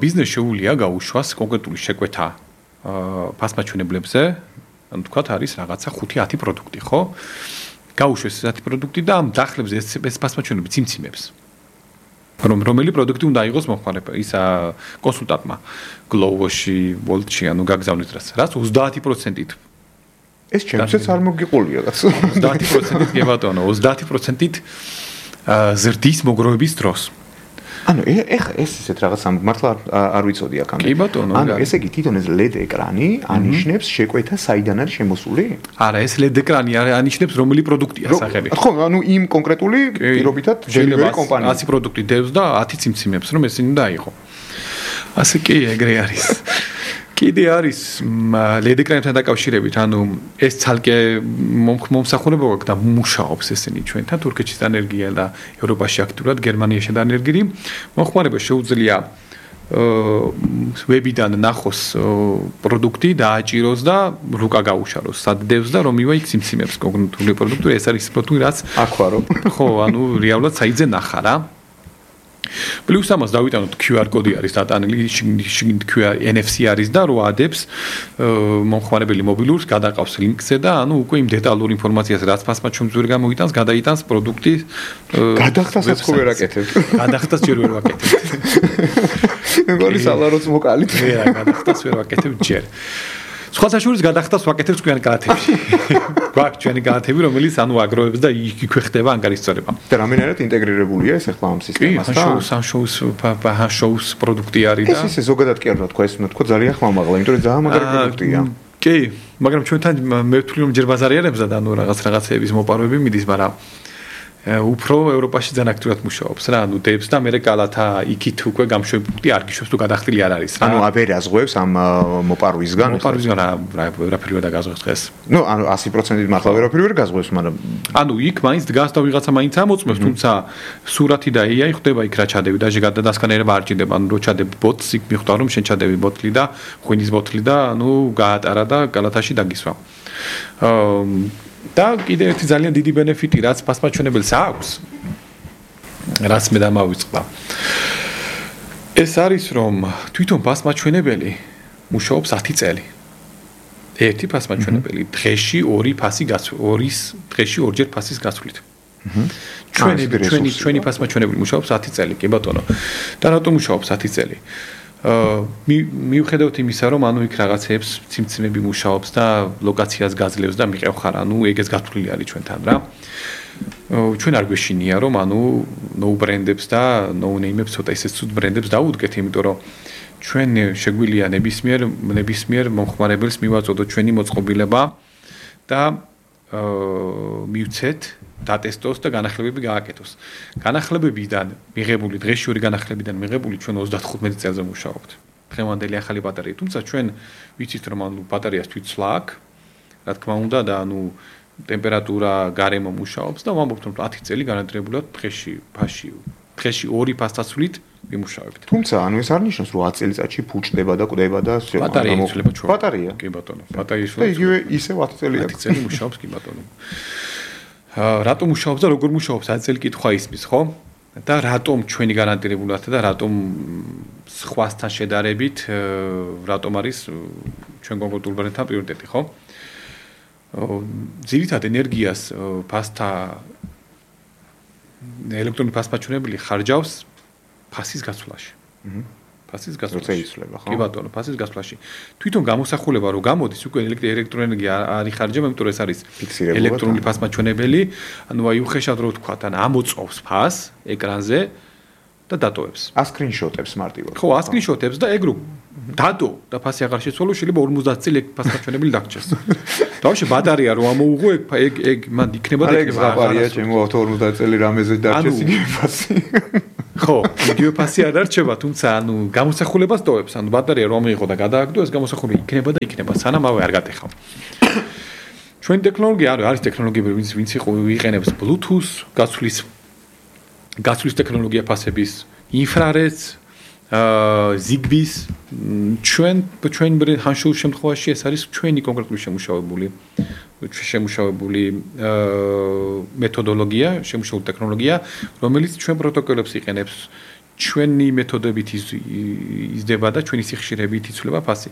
ბიზნეს შეუძლია გაუშვას კონკრეტული შეკვეთა ფასმაჩვენებლებზე, ანუ თქვათ არის რაღაცა 5-10 პროდუქტი, ხო? გაუშვეს ეს 10 პროდუქტი და ამ დახლებზე ეს ფასმაჩვენებლები ციმციმებს. რომელი პროდუქტი უნდა იყოს მომხმარებელს, ისა კონსულტანტმა Glovo-ში, Bolt-ში, ანუ გაგზავნით რაც 30%-ით.
ეს ჩემსაც არ მოგიყოლია რაც
30%-ით კი ბატონო, 30%-ით ზრდის მოგროვების დროს.
ანუ ეხა ეს ისეთ რაღაც მართლა არ ვიცოდი აქამდე.
კი ბატონო.
ანუ ესე იგი თვითონ ეს LED ეკრანი ანიშნებს შეკვეთა საიდან არის შემოსული?
არა, ეს LED ეკრანი ანიშნებს რომელი პროდუქტია სახელი.
ხო, ანუ იმ კონკრეტული პირობითად delivery კომპანია.
100 პროდუქტი დევს და 10 ციმციმებს რომ ესენი უნდა აიღო. ასე კი ეგრე არის. კიდე არის LED ეკრანთან დაკავშირებით, ანუ ეს ცალკე მომსახურება აქვს და მუშაობს ესენი ჩვენთან თურქეთის ენერგია და ევროპაში აქტიურად გერმანიაში და ენერგირი. მომხმარება შეუძლია ვებიდან ნახოს პროდუქტი დააჭიროს და რუკა გაუშაროს. სად დევს და რომ მივა იქ ციმციმებს კონკრეტული პროდუქტი, ეს არის პროდუქტი რაც
აქვარო.
ხო, ანუ რეალურად საიძე ნახა რა. პლუს ამას დავიტანოთ QR კოდი არის დატანილი, შიგნით QR NFC არის და რო ადებს მომხმარებელი მობილურს გადაყავს ლინკზე და ანუ უკვე იმ დეტალურ ინფორმაციას რაც ფასმა ჩვენს ვერ გამოიტანს, გადაიტანს პროდუქტი.
გადახდასაც ხო ვერ აკეთებთ.
გადახდას ჯერ ვერ ვაკეთებ.
მეგონის ალაროც მოკალით.
რა, გადახდას ვერ ვაკეთებ ჯერ. სხვა საშუალებას გადახდას ვაკეთებ თქვენ განათებში. გვაქვს ჩვენი განათები, რომელიც ანუ აგროვებს და იქვე ხდება ანგარიშწორება.
და რამდენად ინტეგრირებულია ეს ახლა ამ სისტემასთან?
კი, შოუს პროდუქტი არის და
ეს ზოგადად კი არ უნდა თქვა, ეს უნდა თქვა ძალიან ხმამაღლა, იმიტომ რომ ძალიან მაგარი პროდუქტია.
კი, მაგრამ ჩვენთან მე ვთვლი რომ ჯერ ბაზარიანებს და ანუ რაღაცეების მოპარვები მიდის, მაგრამ უფრო ევროპაში ძალიან აქტიურად მუშაობს რა, ანუ დებს და მე კალათა იქით უკვე გამშვებული არ გიშვებს თუ გადახდილი არ არის რა.
ანუ აბერაზღვევს ამ მოპარვისგან.
მოპარვისგან ვერაფერი ვერ დაგაზღვევს დღეს.
ნუ ანუ 100% მართლა ვერაფერი ვერ გაზღვევს, მაგრამ
ანუ იქ მაინც დგას და ვიღაცა მაინც ამოწმებს, თუმცა სურათი და AI ხდება იქ რა ჩადები და გადასკანერება არ ჭირდება, ანუ რო ჩადებ ბოტს იქ მიხვდა რომ შენ ჩადები ბოტლი და ღვინის ბოტლი და ანუ გაატარა და კალათაში დაგისვა. და კიდე ერთი ძალიან დიდი ბენეფიტი რაც ფასმაჩვენებელს აქვს რაც მე დამავიწყდა ეს არის რომ თვითონ ფასმაჩვენებელი მუშაობს 10 წელი ერთი ფასმაჩვენებელი დღეში 2 ფასი გასვლის დღეში 2ჯერ ფასის გასვლით ჩვენი ფასმაჩვენებელი მუშაობს 10 წელი კი ბატონო და რატომ მუშაობს 10 წელი მიუხედავთ იმისა, რომ ანუ იქ რაღაცეებს ციმციმები მუშაობს და ლოკაციას გაძლევს და მიყევ ხარ, ანუ ეგეც გათვლილი არის ჩვენთან რა. ჩვენ არ გვეშინია, რომ ანუ ნოუ ბრენდებს და ნოუ ნეიმებს ცოტა ისე ცუდ ბრენდებს დაუდგეთ, იმიტომ რომ ჩვენ შეგვიძლია ნებისმიერ მომხმარებელს მივაწოდოთ ჩვენი მოწყობილება და მივცეთ დატესტოს და განახლებები გააკეთოს. განახლებებიდან მიღებული დღეში 2 განახლებიდან მიღებული ჩვენ 35 წელზე მუშაობთ. დღევანდელი ახალი ბატარეა, თუმცა ჩვენ ვიცით რომ ანუ ბატარეას თვითცვლა აქვს, რა თქმა უნდა და ანუ ტემპერატურა გარემო მუშაობს და ვამბობთ რომ 10 წელი განადგურებულად დღეში 2 ფასდაცვლით ვიმუშავებთ.
თუმცა ანუ ეს არ ნიშნავს რომ 10 წელიწადში ფუჭდება და კვდება და
ბატარეა იცვლება ჩვენ.
ბატარეა.
კი ბატონო, ბატარეა იცვლება.
და იგივე ისე 10 წელი აქვს.
10 წელი მუშაობს კი ბატონო. რატომ მუშაობს და როგორ მუშაობს 10 წელი კითხვა ისმის, ხო? და რატომ ჩვენი გარანტირებულად და რატომ სხვასთან შედარებით რატომ არის ჩვენ კონკრეტულ ბრენდთან პრიორიტეტი, ხო? ძირითადად ენერგიას ფასთა ელექტრონული ფასმაჩვენებელი ხარჯავს ფასის გასვლაში. ფასის გასვლაში.
იცვლება, ხო?
კი ბატონო, ფასის გასვლაში. თვითონ გამოსახულება რო გამოდის, უკვე ელექტროენერგია არ იხარჯება, იმიტომ რომ ეს არის ელექტრონული ფასმაჩვენებელი, ანუ აი უხეშად რო ვთქვა, თან ამოწოვს ფასს ეკრანზე და დატოვებს.
ასკრინშოტებს მარტივად.
ხო, ასკრინშოტებს და ეგ რო დადო და ფასი აღარ შეცვალო, შეიძლება 50 წელი ეგ ფასმაჩვენებელი დაგჭირს. დავშე ბატარეა რო ამოუღო ეგ მან იქნება და იქნება.
ეგ ბატარეა ჩემო 50 წელი რამეზე დარჩეს იგივე ფასი.
ხო, იგივე ფასი არ არჩება, თუმცა ანუ გამოსახულებას ტოვებს, ანუ ბატარეა რომ მიიღო და გადააგდო, ეს გამოსახულება იქნება და იქნება, სანამ ავე არ გატეხავ. ჩვენი ტექნოლოგია არის ტექნოლოგიები, ვინც იყენებს Bluetooth, გაცვლის ტექნოლოგია ფასების, ინფრარედს, Zigbee-ს, ჩვენ ჰანშულ შემთხვევაში ეს არის ჩვენი კონკრეტული შემუშავებული მეთოდოლოგია, შემუშავებული ტექნოლოგია, რომელიც ჩვენ პროტოკოლებს იყენებს, ჩვენი მეთოდებით იზრდება და ჩვენი სიხშირებით იცვლება ფასი.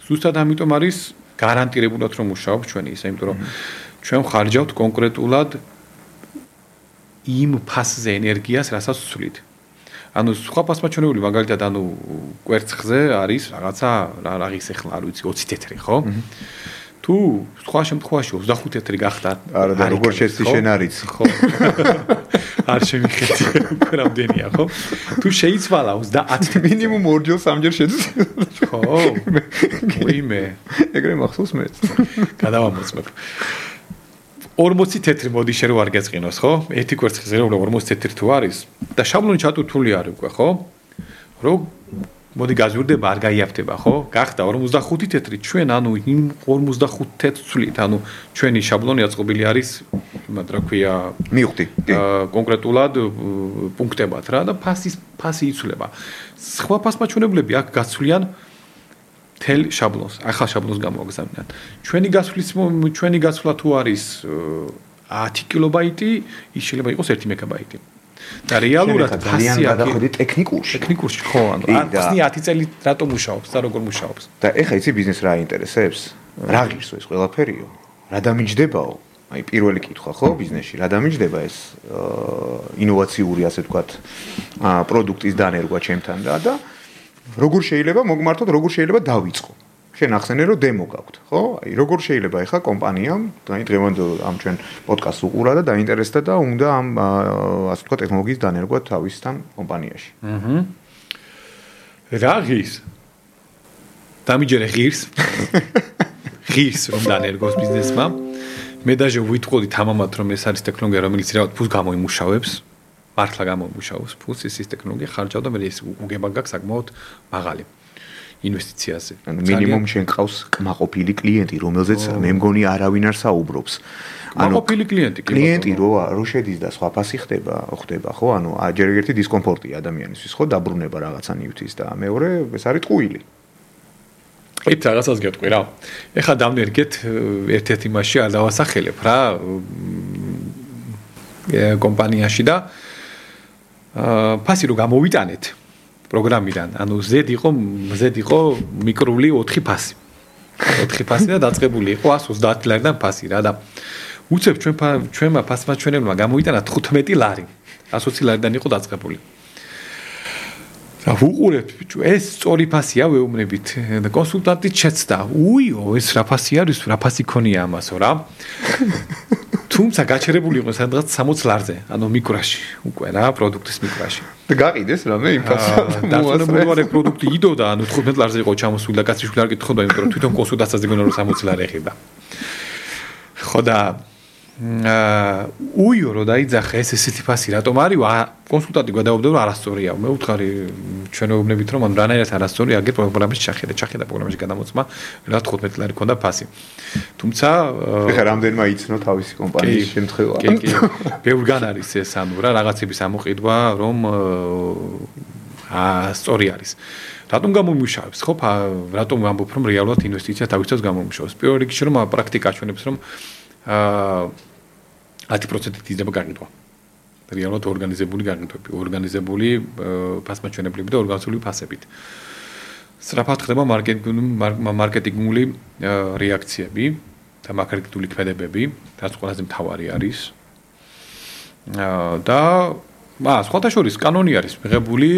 ზუსტად ამიტომ არის გარანტირებულად რომ მუშაობს ჩვენი ისა, იმიტომ რომ ჩვენ ხარჯავთ კონკრეტულად იმ ფასზე ენერგიას, რასაც ვცვლით. ანუ სხვა ფასმაჩვენებელი მაგალითად ანუ კვერცხზე არის რაღაცა რაღის ახლა არ ვიცი 20 თეთრი, ხო? თუ სხვა შემთხვევაში 25 თეთრი გახდა,
არა და როგორ შეცდი შენ არიც.
ხო. არ შემიხედი რამდენია ხო? თუ შეიცვალა 30
მინიმუმ 2-ჯერ 3-ჯერ შეძლო.
ხო. ვიმე.
ეგრე მახსოვს მეც.
გადავამოწმებ. 40 თეთრი მოდი შე რო არ გეწყინოს ხო? ერთი კვერცხის ღერო 40 თეთრი თუ არის და შაბლონი ჩატურთული არის უკვე ხო? რო მოდი გაზურდება არ გაიაფთება ხო? გახდა 45 თეთრი ჩვენ ანუ იმ 45 თეთრით ანუ ჩვენი შაბლონი აწყობილი არის იმად რა ქვია
მივხვდი.
კონკრეტულად პუნქტებად რა და ფასი იცვლება. სხვა ფასმაჩვენებლები აქ გაცვლიან თელ შაბლონს, ახალ შაბლონს გამოგზავნიან. ჩვენი გაცვლა თუ არის 10 კილობაიტი, ის შეიძლება იყოს 1 მეგაბაიტი. და რეალურად ფასი
გადახედი ტექნიკურში
ხო ანუ ახსნი 10 წელი რატომ მუშაობს და როგორ მუშაობს.
და ეხა იცი ბიზნეს რა ინტერესებს? რა ღირსო ეს ყველაფერიო? რა დამიჯდებაო? აი პირველი კითხვა ხო ბიზნესში, რა დამიჯდება ეს ინოვაციური ასე ვთქვათ პროდუქტის დანერგვა ჩემთან და როგორ შეიძლება მოგმართოთ, როგორ შეიძლება დავიწყო? შენ ახსენე რომ დემო გაქვთ, ხო? აი როგორ შეიძლება ეხა კომპანიამ, აი დღევანდელ ამ ჩვენ პოდკასტს უყურა და დაინტერესდა და უნდა ამ ასე ვთქვათ ტექნოლოგიის დანერგვა თავისთან კომპანიაში.
რა ღირს? დამიჯერე ღირს. ღირს რომ დანერგოს ბიზნესმა. მე დაჟე ვიტყოდი თამამად რომ ეს არის ტექნოლოგია რომელიც რაღაც ფულს გამოიმუშავებს. მართლა გამოიმუშავებს ფულს ის ტექნოლოგია ხარჯავდა მე ეს უგება გაქვს საკმაოდ მაღალი ინვესტიციაზე.
ანუ მინიმუმ შენ ყავს კმაყოფილი კლიენტი, რომელზეც მე მგონი არავინ არ საუბრობს.
კმაყოფილი
კლიენტი რო შედის და სხვა ფასი ხდება, ხო? ანუ ჯერ ერთი დისკომფორტია ადამიანისთვის, ხო? დაბრუნება რაღაცა ნივთის და მეორე ეს არის ტყუილი.
ეს რაღაცას გეტყვი რა. ეხლა დამნერგეთ ერთ-ერთ იმაში არ დავასახელებ რა კომპანიაში და ფასი რო გამოვიტანეთ პროგრამიდან, ანუ ზედ იყო მიკრული 4 ფასი. 4 ფასი და დაწყებული იყო 130 ლარიდან ფასი რა და უცებ ჩვენმა ფასმაჩვენებელმა გამოვიტანა 15 ლარი. 120 ლარიდან იყო დაწყებული. და უყურებთ ბიჭო, ეს სწორი ფასია ვეუბნებით და კონსულტანტი შეცდა. უიო, ეს რა ფასი არის, რა ფასი ქონია ამასო რა. თუმცა გაჩერებული იყო სადღაც 60 ლარზე, ანუ მიკროში, უკვე რა, პროდუქტის მიკროში.
და გაყიდეს რამე იმ ფასს.
დაწყებული ვარ პროდუქტი იდოდა, ანუ 15 ლარზე იყო ჩამოსული და კაცი არ კითხობდა, იმიტომ რომ თვითონ კონსულტაციაზე გონა რომ 60 ლარი ეხება. ხო და უიო რო დაიძახა ესეთი ფასი რატომ არის? კონსულტანტი გადაობდა რომ არასწორია. მე ვუთხარი ჩვენოვნებით რომ რანაირად არასწორი აგერ პროგრამის ჩახედა პროგრამაში გადამოწმა რა 15 ლარი ქონდა ფასი. თუმცა
ეხლა რამდენმა იცნო თავისი კომპანიის შემთხვევა.
კი. ბევრგან არის ეს ანუ რა რაღაცების ამოყიდვა რომ სწორი არის. რატომ გამომუშავებს ხო? რატომ ვამბობ რომ რეალურად ინვესტიცია თავისთავად გამომუშავებს? პირველ რიგში რომ პრაქტიკა ჩვენებს რომ 10% იზრდება გაყიდვა. რეალურად ორგანიზებული გაყიდვები, ორგანიზებული ფასმაჩვენებლები და ორგანიზებული ფასებით. სწრაფად ხდება მარკეტინგული რეაქციები და მარკეტინგული ქმედებები, რაც ყველაზე მთავარი არის. და სხვათა შორის კანონი არის მიღებული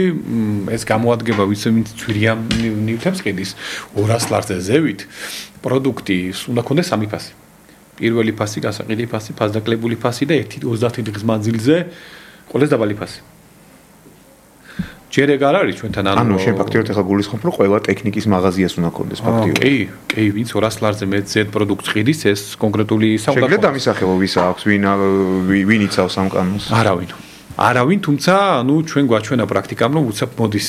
ეს გამოადგება ვინც ცვირიან ნივთებს ყიდის 200 ლარზე ზევით პროდუქტი უნდა ქონდეს 3 ფასი. პირველი ფასი, გასაყიდი ფასი, ფასდაკლებული ფასი და 30 დღის მანძილზე ყველაზე დაბალი ფასი. ჯერ ეგ არ არის ჩვენთან
ანუ შენ ფაქტიურად ახლა გულისხმობ რომ ყველა ტექნიკის მაღაზიას უნდა ქონდეს ფაქტიურად.
კი, ვინც 200 ლარზე მეტ პროდუქტს ყიდის, ეს კონკრეტული საუბარი.
შეგიძლია დამისახელო ვის აქვს, ვინ იცავს ამ კანონს?
არავინ, თუმცა, ანუ ჩვენ გვაჩვენა პრაქტიკამ რომ უცებ მოდის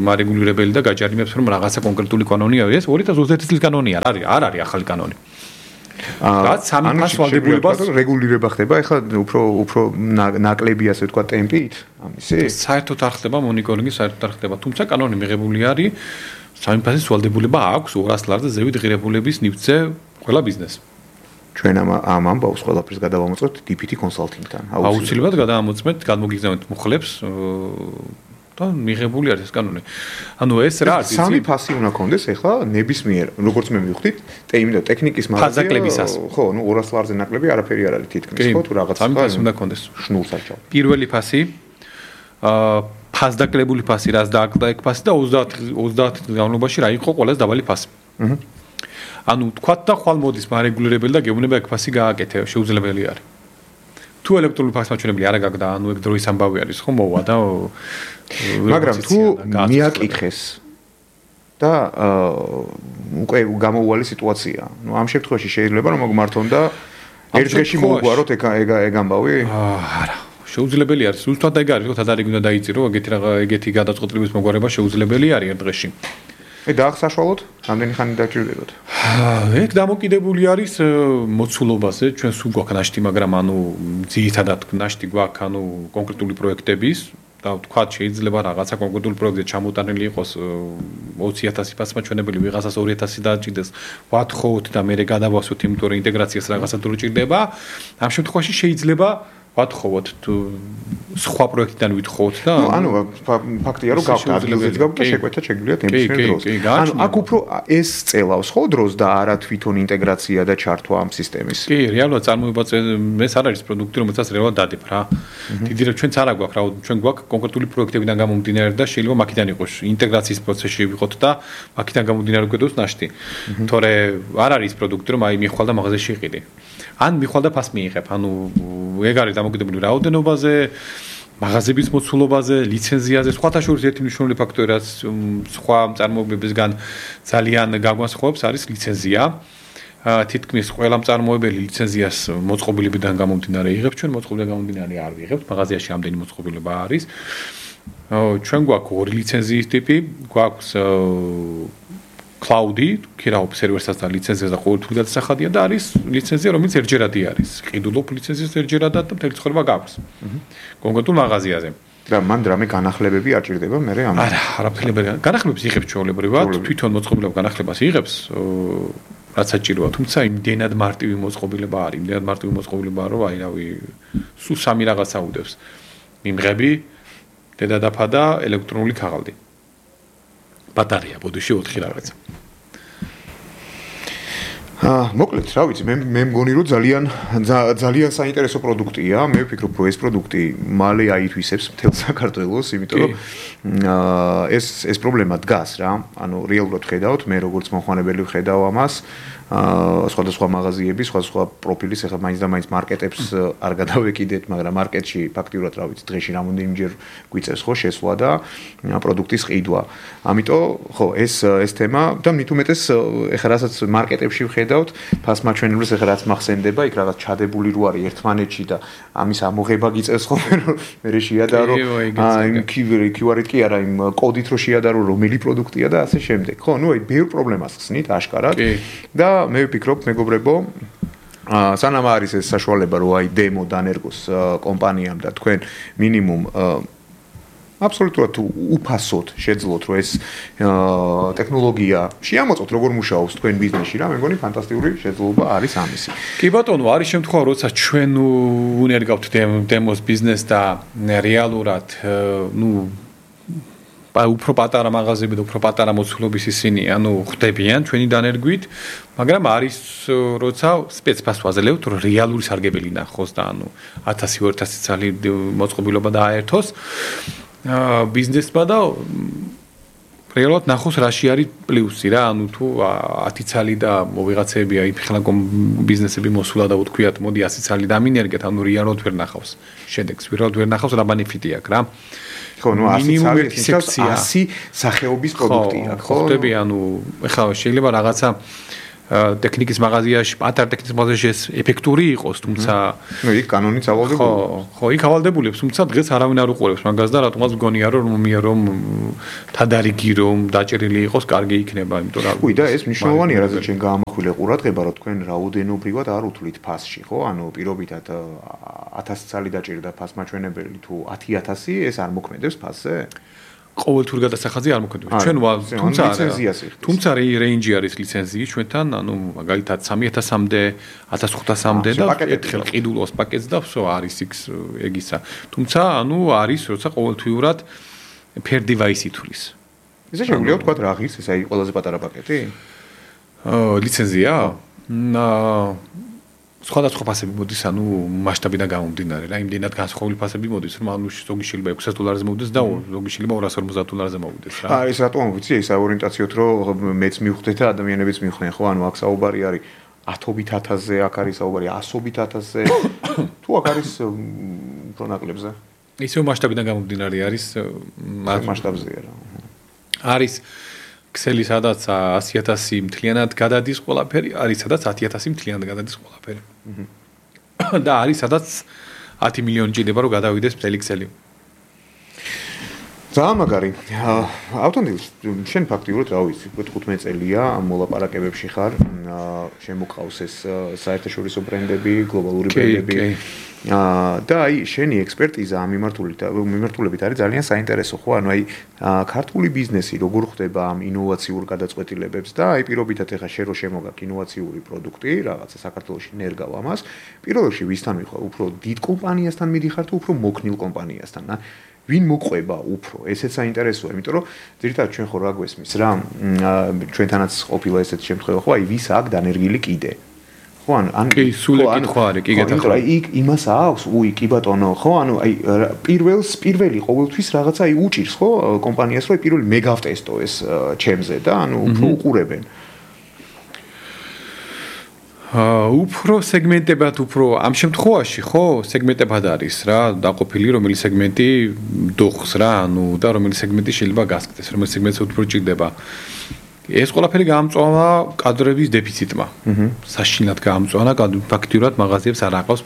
მარეგულირებელი და გაჯარიმებს რომ რაღაცა კონკრეტული კანონი არის, ეს 2021 წლის კანონია, არ არის ახალი კანონი. რაც სამი ფასს ვალდებულებას
რეგულირება ხდება, ეხლა უფრო ნაკლები ასე ვთქვა ტემპით, ამისი.
საერთოდ არ ხდება მონიტორინგი, საერთოდ არ ხდება, თუმცა კანონი მიღებული არის, სამი ფასის ვალდებულება აქვს 200 ლარზე ზევით ღირებულების ნივთზე ყველა ბიზნესს.
ჩვენ ამ ამბავს ყველაფერს გადავამოწმებთ DPT კონსალტინგთან.
აუცილებლად გადავამოწმებთ, გადმოგიგზავნეთ მუხლებს და მიღებული არის ეს კანონი. ანუ ეს რა არის?
სამი ფასი უნდა კონდეს ეხლა ნებისმიერ, როგორც მე მივხვდით, ტექნიკის
მაღაზია.
ხო, ნუ 200 ლარზე ნაკლები არაფერი არ არის თითქმის, ხო, თუ რაღაც
სამი ფასი უნდა კონდეს.
შნურს აჭავ.
პირველი ფასი ფასდაკლებული ფასი, რაც დააკლდა ეგ ფასი და 30 განმავლობაში რა იყო ყველაზე დაბალი ფასი. ანუ თქვათ და ხვალ მოდის მარეგულირებელი და გეუბნება ეგ ფასი გააკეთე, შეუძლებელი არის. თუ ელექტრონული ფაქს მაჩვენებელი არ აგაგდა, ანუ ეგ დროის ამბავი არის, ხო, მოვა და
მაგრამ თუ მიაკითხეს და უკვე გამოუვალი სიტუაცია. ნუ ამ შემთხვევაში შეიძლება რომ მოგმართონ და ერთ დღეში მოუგვაროთ ეგ ამბავი?
არა. შეუძლებელი არის. ზუსტად ეგ არის, რომ თადარიგი უნდა დაიწერო, ეგეთი გადაწყვეტილების მოგვარება შეუძლებელი არის ერთ დღეში.
დაახსაშვალოთ, რამდენი ხანი დაჭირდებათ?
ეგ დამოკიდებული არის მოცულობაზე, ჩვენ სულ გვაქვს ნაშთი, მაგრამ ანუ ძირითადად ნაშთი გვაქვს ანუ კონკრეტული პროექტების და თქვათ შეიძლება რაღაცა კონკრეტული პროექტზე ჩამოტანილი იყოს 20,000 ფასმაჩვენებელი, ვიღაცას 2,000 დააჭირდეს, ვათხოვოთ და მე გადავასვით, იმიტომ რომ ინტეგრაციას რაღაცა დრო ჭირდება. ამ შემთხვევაში შეიძლება ვათხოვოთ თუ სხვა პროექტიდან ვითხოვოთ და
ანუ ფაქტია რომ გაქვთ ადგილზეც გაქვთ და შეკვეთა შეგვიძლია თემის დროს. ანუ აქ უფრო ეს წელავს ხო დროს და არა თვითონ ინტეგრაცია და ჩართვა ამ სისტემის.
კი, რეალურად წარმოება ეს არ არის პროდუქტი, რომელსაც რეალურად დადებ რა. დიდი რა ჩვენც არ აგვაქვს რა, ჩვენ გვაქვს კონკრეტული პროექტებიდან გამომდინარე და შეიძლება მაქიდან იყოს ინტეგრაციის პროცესში ვიყოთ და მაქიდან გამომდინარე გვედოს ნაშთი. თორე არ არის პროდუქტი რომ აი მიხვალ და მაღაზიაში იყიდი. ან მიხვალ და ფას მიიღებ, ანუ ეგ არის დამოკიდებული რაოდენობაზე, მაღაზიების მოცულობაზე, ლიცენზიაზე, სხვათა შორის ერთი მნიშვნელოვანი ფაქტორი რაც სხვა მწარმოებლებისგან ძალიან გაგვასხვავებს არის ლიცენზია. თითქმის ყველა მწარმოებელი ლიცენზიას მოწყობილებიდან გამომდინარე იღებს, ჩვენ მოწყობილიდან გამომდინარე არ ვიღებთ, მაღაზიაში ამდენი მოწყობილება არის. ჩვენ გვაქვს ორი ლიცენზიის ტიპი, გვაქვს cloud-ი, ქირაობ სერვერსაც და ლიცენზიას და ყოველთვის გადასახადია და არის ლიცენზია, რომელიც ერთჯერადი არის. ყიდულობ ლიცენზიას ერთჯერადად და მთელი ცხოვრება გაქვს. კონკრეტულ მაღაზიაზე.
და მან რამე განახლებები არ ჭირდება მე ამ.
არა, არაფერი. განახლებებს იღებს ჩვეულებრივად, თვითონ მოწყობილება განახლებას იღებს, რაც საჭიროა, თუმცა იმდენად მარტივი მოწყობილება არის, იმდენად მარტივი მოწყობილებაა, რომ აი რავი, სულ სამი რაღაცა უდევს. მიმღები, დედადაფა და ელექტრონული ქაღალდი. ბატარეა ბოდიში 4 რაღაცა.
მოკლედ, რა ვიცი, მე მგონი რომ ძალიან საინტერესო პროდუქტია. მე ვფიქრობ, რომ ეს პროდუქტი მალე აითვისებს მთელ საქართველოს, იმიტომ რომ ეს პრობლემა დგას რა. ანუ რეალურად ხედავთ, მე როგორც მოხმარებელი ვხედავ ამას. სხვადასხვა მაღაზიები, სხვადასხვა პროფილის, ახლა მაინც და მაინც მარკეტებს არ გადავეკიდეთ, მაგრამ მარკეტში ფაქტიურად რა ვიცი, დღეში რამოდენიმეჯერ გვიწევს ხო შესვლა და პროდუქტის ყიდვა. ამიტომ ხო, ეს თემა და მით უმეტეს ახლა რასაც მარკეტებში ვხედავთ, ფასმაჩვენებლებს ახლა რაც მახსენდება, იქ რაღაც ჩადებული რო არის ერთმანეთში და ამის ამოღება გიწევს ხო, მე შეადარო იმ QR-ით კი არა, იმ კოდით რო შეადარო, რომელი პროდუქტია და ასე შემდეგ. ხო, ნუ აი ბევრ პრობლემას ხსნით აშკარად და მე ვფიქრობ, მეგობრებო, სანამ არის ეს საშუალება, რომ აი დემო დანერგოს კომპანიამ და თქვენ მინიმუმ აბსოლუტურად უფასოდ შეძლოთ, რომ ეს ტექნოლოგია შეამოწოთ, როგორ მუშაობს თქვენ ბიზნესში რა, მე მგონი ფანტასტიკური შეძლობა არის ამისი.
კი ბატონო, არის შემთხვევა, როცა ჩვენ უნერგავთ დემოს ბიზნეს და რეალურად, უფრო პატარა მაღაზიები და უფრო პატარა მოცულობის ისინი, ხდებიან ჩვენი დანერგვით, მაგრამ არის როცა სპეცფას ვაძლევთ, რომ რეალური სარგებელი ნახოს და 1000-2000 წელი მოწყობილობა დააერთოს ბიზნესმა და რეალურად ნახოს რაში არის პლუსი რა, თუ 10 წელი და ვიღაცები აი ფეხლა ბიზნესები მოსულა და უთქვიათ, მოდი 100 წელი დამინერგეთ, რეალურად ვერ ნახავს შედეგს, რეალურად ვერ ნახავს რა ბენეფიტი აქვს რა.
ხო, 100 სახეობის პროდუქტია, ხო?
ხდები, ეხლა შეიძლება რაღაცა ტექნიკის მაღაზიაში, პატარ ტექნიკის მაღაზიაში ეს ეფექტური იყოს, თუმცა
იქ კანონიც ავალდებული.
ხო, იქ ავალდებულებს, თუმცა დღეს არავინ არ უყურებს მაგას და რატომაც მგონია რომ თადარიგი რომ დაჭერილი იყოს, კარგი იქნება, იმიტომ რომ
უი და ეს მნიშვნელოვანია, რადგან ჩვენ გაამახვილე ყურადღება, რომ თქვენ რაოდენობრივად არ უთვლით ფასში, ხო? პირობითად 1000 წელი დაჭერდა ფასმაჩვენებელი თუ 10,000, ეს არ მოქმედებს ფასზე?
ყოველთვის გადასახადზე არ მოქმედებს. ჩვენ თუმცა რეინჯი არის ლიცენზიის ჩვენთან, მაგალითად 3000-მდე, 1500-მდე და ერთხელ ყიდულობს პაკეტს და ვсё არის ეგისა. თუმცა არის როცა ყოველთვიურად per device ითვლის.
ესე შეგვიძლია ვთქვათ რა ღირს, ეს აი ყველაზე პატარა პაკეტი?
ლიცენზია? სხვადასხვა ფასები მოდის, მასშტაბიდან გამომდინარე რა, იმდენად განსხვავებული ფასები მოდის, რომ ზოგი შეიძლება $600-ზე მოვიდეს და ზოგი შეიძლება $250-ზე მოვიდეს რა.
ეს რატომ ვიცი, ეს ორიენტაციოთ რომ მეც მივხვდეთ და ადამიანებიც მივხვდნენ, ხო, აქ საუბარი არის 1000-ობით 1000-ზე, აქ არის საუბარი 100-ობით 1000-ზე. თუ აქ არის უფრო ნაკლებზე.
ისევ მასშტაბიდან გამომდინარე არის
მასშტაბზეა რა.
არის ქსელი სადაც 100000 მთლიანად გადადის ყველაფერი, არის სადაც 10000 მთლიანად გადადის ყველაფერი. და არის სადაც 10 მილიონი ჭირდება რომ გადავიდეს მთელი ქსელი.
ძალიან მაგარი. ავტონდილ შენ ფაქტიურად რა ვიცი, 15 წელია ამ მოლაპარაკებებში ხარ, შემოყავს ეს საერთაშორისო ბრენდები, გლობალური ბრენდები. და აი შენი ექსპერტიზა ამ მიმართულებით არის ძალიან საინტერესო, ხო? ანუ აი ქართული ბიზნესი როგორ ხდება ამ ინოვაციურ გადაწყვეტილებებს და აი პირობითად ეხა შენ რო შემოგაქვს ინოვაციური პროდუქტი, რაღაცა საქართველოში ნერგავ ამას, პირველ რიგში ვისთან მიხარ, უფრო დიდ კომპანიასთან მიდიხარ თუ უფრო მოქნილ კომპანიასთან, ვინ მოყვება უფრო? ესეც საინტერესოა, იმიტომ რომ ძირითადად ჩვენ ხო რა გვესმის რა, ჩვენთანაც ყოფილა ესეთი შემთხვევა, ხო, აი ვის აქვს დანერგილი კიდე. ხო, ან
კი, სულ ეკითხვა არის, კი გეთახა.
აი იქ იმას აქვს, კი ბატონო, ხო, ანუ აი პირველი ყოველთვის რაღაცა აი უჭირს, ხო, კომპანიას, რომ პირველი მე გავტესტო ეს ჩემზე და ანუ უფრო უყურებენ.
უფრო სეგმენტებად უფრო ამ შემთხვევაში ხო სეგმენტებად არის რა დაყოფილი რომელი სეგმენტი დუხს რა ანუ და რომელი სეგმენტი შეიძლება გასკდეს რომელი სეგმენტს უფრო ჭირდება ეს ყველაფერი გაამწვანა კადრების დეფიციტმა საშინლად გაამწვანა ფაქტიურად მაღაზიებს არ აყავს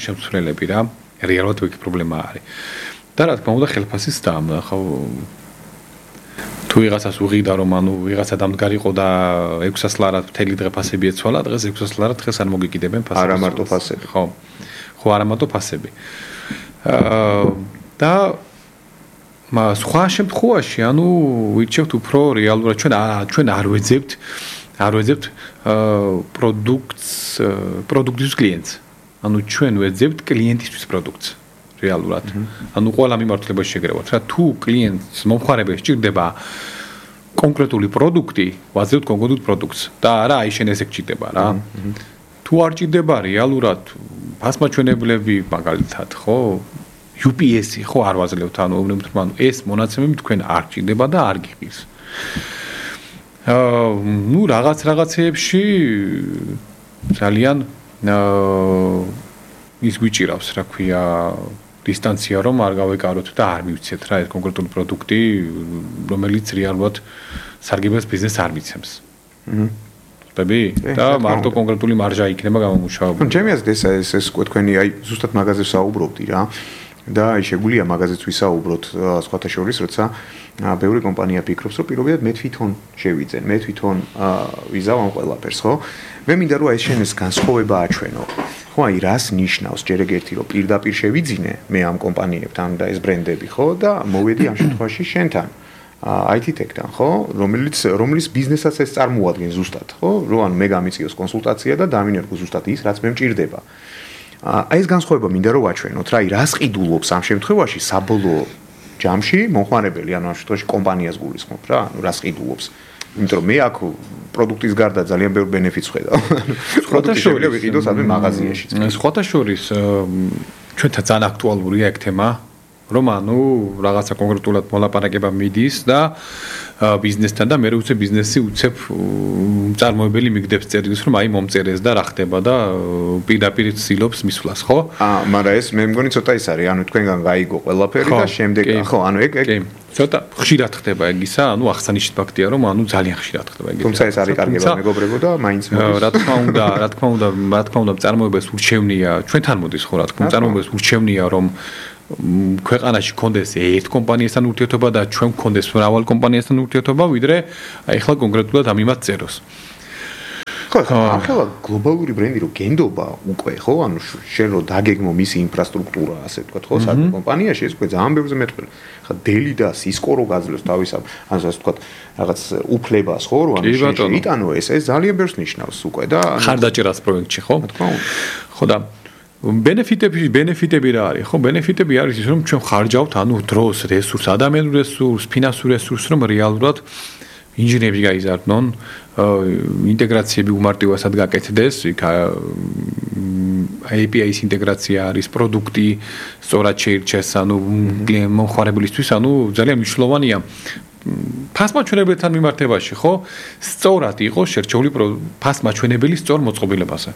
შემცვლელები რა რეალურად ეს პრობლემა არის და რა თქმა უნდა ხელფასის დაამნა ხო თუ ვიღაცას უღიდა რომ ანუ ვიღაცა დამდგარიყო და 600 ლარად მთელი დღე ფასები ეცვალა დღეს 600 ლარად დღეს არ მოგიკიდებენ ფასები
არა მარტო ფასები
ხო არა მარტო ფასები და სხვა შემთხვევაში ანუ ვირჩევთ უფრო რეალურად ჩვენ არ ვეძებთ პროდუქტის კლიენტს ანუ ჩვენ ვეძებთ კლიენტისთვის პროდუქტს რეალურად. ანუ ყველა მიმართულებაში შეგრევათ რა თუ კლიენტს მომხმარებელს ჭირდება კონკრეტული პროდუქტი, ვაძებთ კონკრეტულ პროდუქტს და არა აი შენ ესე გჭირდება რა. თუ არ ჭირდება რეალურად ფასმაჩვენებლები მაგალითად ხო UPS-ი ხო არ ვაძლევთ ანუ ეს მონაცემები თქვენ არ ჭირდება და არ გიყის. ნუ რაღაცეებში ძალიან ის გვიჭირავს რა ქვია დისტანცია რომ არ გავეკაროთ და არ მივცეთ რა ეს კონკრეტული პროდუქტი რომელიც რეალურად სარგებელს ბიზნესს არ მიცემს. ხტები? და მარტო კონკრეტული მარჟა იქნება გამომუშავებული.
ჩემი აზრით ეს თქვენი აი ზუსტად მაღაზიებს საუბრობდი რა. და აი შეგვიძლია მაღაზიებს ვისაუბროთ სხვათა შორის, როცა ბევრი კომპანია ფიქრობს, რომ პირობითად მე თვითონ შევიძენ, მე თვითონ ვიზავ ამ ყველაფერს, ხო? მე მინდა რომ აი შენ ეს განსხვავება აჩვენო. ხო, აი რას ნიშნავს ჯერ ეგერთი რომ პირდაპირ შევიძინე მე ამ კომპანიებთან და ეს ბრენდები, ხო? და მოვედი ამ შემთხვევაში შენთან. IT Tech-თან, ხო? რომლის ბიზნესაც ეს წარმოადგენს ზუსტად, ხო? რომ ან მე გამიწიოს კონსულტაცია და დამინერგო ზუსტად ის, რაც მე მჭირდება. აი ეს განსხვავება მინდა რომ ვაჩვენოთ რა, აი რას ყიდულობს ამ შემთხვევაში საბოლოო ჯამში მომხმარებელი, ანუ ამ შემთხვევაში კომპანიას გულისხმობ რა, ანუ რას ყიდულობს. იმიტომ რომ მე აქ პროდუქტის გარდა ძალიან ბევრ ბენეფიტს ხედავ. პროდუქტი შეიძლება ვიყიდო სადმე მაღაზიაში.
სხვათა შორის ჩვენთან ძალიან აქტუალურია ეგ თემა, რომ ანუ რაღაცა კონკრეტულად მოლაპარაკება მიდის და ბიზნესთან და მე უცებ ბიზნესი უცებ წარმოებელი მიგდებს წერილს რომ აი მომწერეს და რა ხდება და პირდაპირ ცდილობს მისვლას ხო?
მაგრამ ეს მე მგონი ცოტა ის არის, ანუ თქვენგან გაიგო ყველაფერი და შემდეგ ხო, ანუ ეგ
ცოტა ხშირად ხდება ეგისა, ანუ აღსანიშნავი ფაქტია რომ ანუ ძალიან ხშირად ხდება ეგ.
თუმცა ეს არის კარგება მეგობრებო და მაინც მოდის.
რა თქმა უნდა წარმოებებს ურჩევნია, ჩვენთან მოდის ხო რა თქმა უნდა, წარმოებებს ურჩევნია რომ ქვეყანაში კონდეს ერთ კომპანიასთან ურთიერთობა და ჩვენ კონდეს მრავალ კომპანიასთან ურთიერთობა, ვიდრე აი ახლა კონკრეტულად ამ იმას წეროს.
ხო, ახლა გლობალური ბრენდი რო გენდობა უკვე, ხო, ანუ შენ რო დაგეგმო მისი ინფრასტრუქტურა, ასე ვთქვათ, ხო, საერთო კომპანიაში ეს უკვე ძალიან ბევრზე მეტყვი. ხა დელი და სისკო რო გაძლევს თავისამ, ანუ ასე ვთქვათ, რაღაც უფლებას, ხო, რო ანუ შეიტანო ეს ძალიან ბევრს ნიშნავს უკვე და
ხარდაჭერას პროექტში, ხო?
თქმა უნდა.
ხო და ბენეფიტები რა არის? ხო, ბენეფიტები არის ის რომ ჩვენ ხარჯავთ ანუ დროს, რესურს, ადამიანურ რესურს, ფინანსურ რესურსს რომ რეალურად ინჟინერები გაიზარდნონ, ინტეგრაციები უმარტივესად გაკეთდეს, იქ API-ის ინტეგრაცია არის, პროდუქტი სწორად შეირჩეს, ანუ მომხმარებლისთვის, ანუ ძალიან მნიშვნელოვანია ფასმაჩვენებელთან მიმართებაში, ხო? სწორად იყო შერჩეული ფასმაჩვენებელი სწორ მოწყობილებაზე.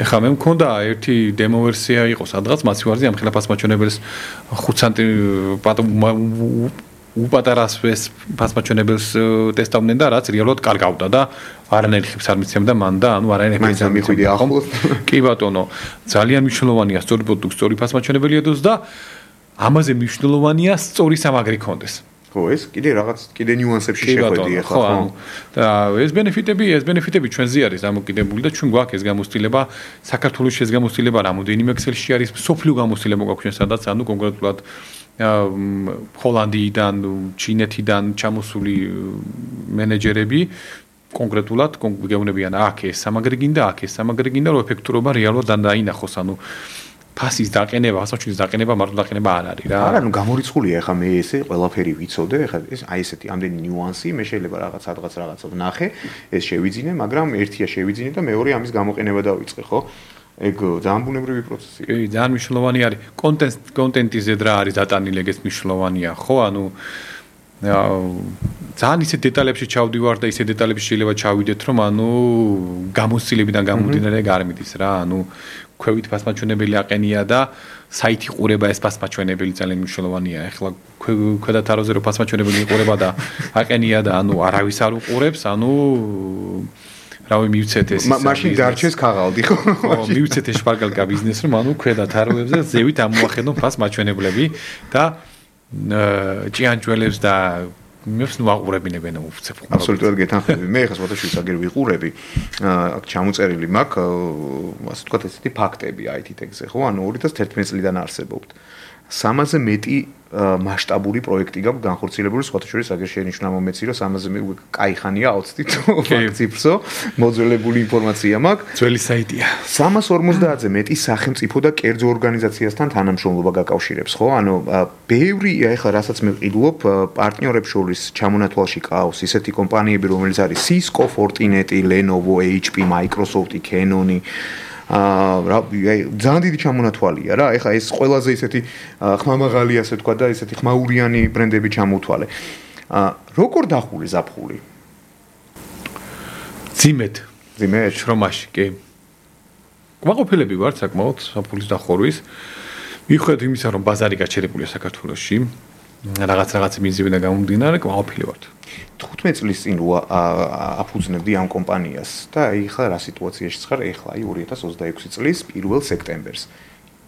ეხლა მე მქონდა ერთი დემო ვერსია იყო სადღაც მაცივარზე ამ ხელა ფასმაჩვენებელს 5 სანტი უპატარას ფასმაჩვენებელს ტესტავდნენ და რაც რეალურად კარგავდა და არანაირი ხიბს არ მიცემდა მან და ანუ არანაირი
ხიბს არ მიხვიდი ახლოს.
კი ბატონო, ძალიან მნიშვნელოვანია სწორი პროდუქტი, სწორი ფასმაჩვენებელი ედოს და ამაზე მნიშვნელოვანია სწორი სამაგრი კონდეს.
ხო, ეს კიდე ნიუანსებში შეხვედი ახლა, ხო?
და ეს ბენეფიტები ჩვენზე არის დამოკიდებული და ჩვენ გვაქვს ეს გამოცდილება, საქართველოში ეს გამოცდილება რამოდენიმე ექსელში არის, სოფლიო გამოცდილება გვაქვს ჩვენ სადაც, ანუ კონკრეტულად ჰოლანდიიდან, ჩინეთიდან ჩამოსული მენეჯერები კონკრეტულად გეუბნებიან აქ ეს სამაგრი გინდა, რომ ეფექტურობა რეალურად დაინახოს, ანუ ფასის დაყენება, ასოჩის დაყენება, მარტო დაყენება არ არის რა.
არა, გამორიცხულია ახლა მე ესე ყველაფერი ვიცოდე, ახლა ეს აი ესეთი ამდენი ნიუანსი, მე შეიძლება რაღაცა ვნახე, ეს შევიძინე, მაგრამ ერთია შევიძინე და მეორე ამის გამოყენება დავიწყე, ხო? ეგ ძალიან ბუნებრივი პროცესია.
კი, ძალიან მნიშვნელოვანი არის. კონტენტის ზედ რა არის დატანილი, ეგეც მნიშვნელოვანია, ხო? ანუ ძალიან ისეთ დეტალებში ჩავდივარ და ისეთ დეტალებში შეიძლება ჩავიდეთ, რომ ანუ გამოცდილებიდან გამომდინარე არ მიდის რა, ანუ ქვევით ფასმაჩვენებელი აყენია და საითი ყურება ეს ფასმაჩვენებელი ძალიან მნიშვნელოვანია. ეხლა ქვედათაროზე რო ფასმაჩვენებელი იყურება და აყენია და ანუ არავის არ უყურებს, ანუ რავი მივცეთ ეს
მაშინ დარჩეს ქაღალდი ხო?
ხო, მივცეთ ეს შპარგალკა ბიზნეს რომ ანუ ქვედათაროებზე ზევით ამოახედონ ფასმაჩვენებლები და ჭიანჭველებს და მეც ნუ აყურებინებენ უფცებ.
აბსოლუტურად გეთანხმები. მე ხა სხვადასხვა აგერ ვიყურები. აქ ჩამოწერილი მაქვს, ასე ვთქვათ, ესეთი ფაქტები IT-ზე, ხო? ანუ 2011 წლიდან არსებობთ. 300-ზე მეტი მასშტაბური პროექტი გაქვს განხორციელებული, სხვათა შორის აგერ შენიშნა მომეცი, რომ 300-ზე კაი ხანია აუცდით ფაქტ-ციფრსო, მოძველებული ინფორმაცია მაქვს.
ძველი საიტია.
350-ზე მეტი სახელმწიფო და კერძო ორგანიზაციასთან თანამშრომლობა გაკავშირებს, ხო? ანუ ბევრი ეხლა რასაც მე ვყიდულობ, პარტნიორებს შორის ჩამონათვალში ყავს ისეთი კომპანიები, რომელიც არის Cisco, Fortinet, Lenovo, HP, Microsoft, Canon ძალიან დიდი ჩამონათვალია რა. ეხლა ეს ყველაზე ისეთი ხმამაღალი ასე თქვა და ისეთი ხმაურიანი ბრენდები ჩამოთვალე. როგორ დახული ზაფხული?
ძიმედ შრომაში, კი. კმაყოფილები ვართ საკმაოდ ზაფხულის დახურვის. მიხვდეთ იმისა, რომ ბაზარი გაჩერებულია საქართველოში. რაღაც მიზეზებიდან გამომდინარე, კმაყოფილი ვართ.
15 წლის წინ აფუძნებდი ამ კომპანიას და ეხლა რა სიტუაციაში ხარ? ეხლა 2026 წლის 1 სექტემბერს.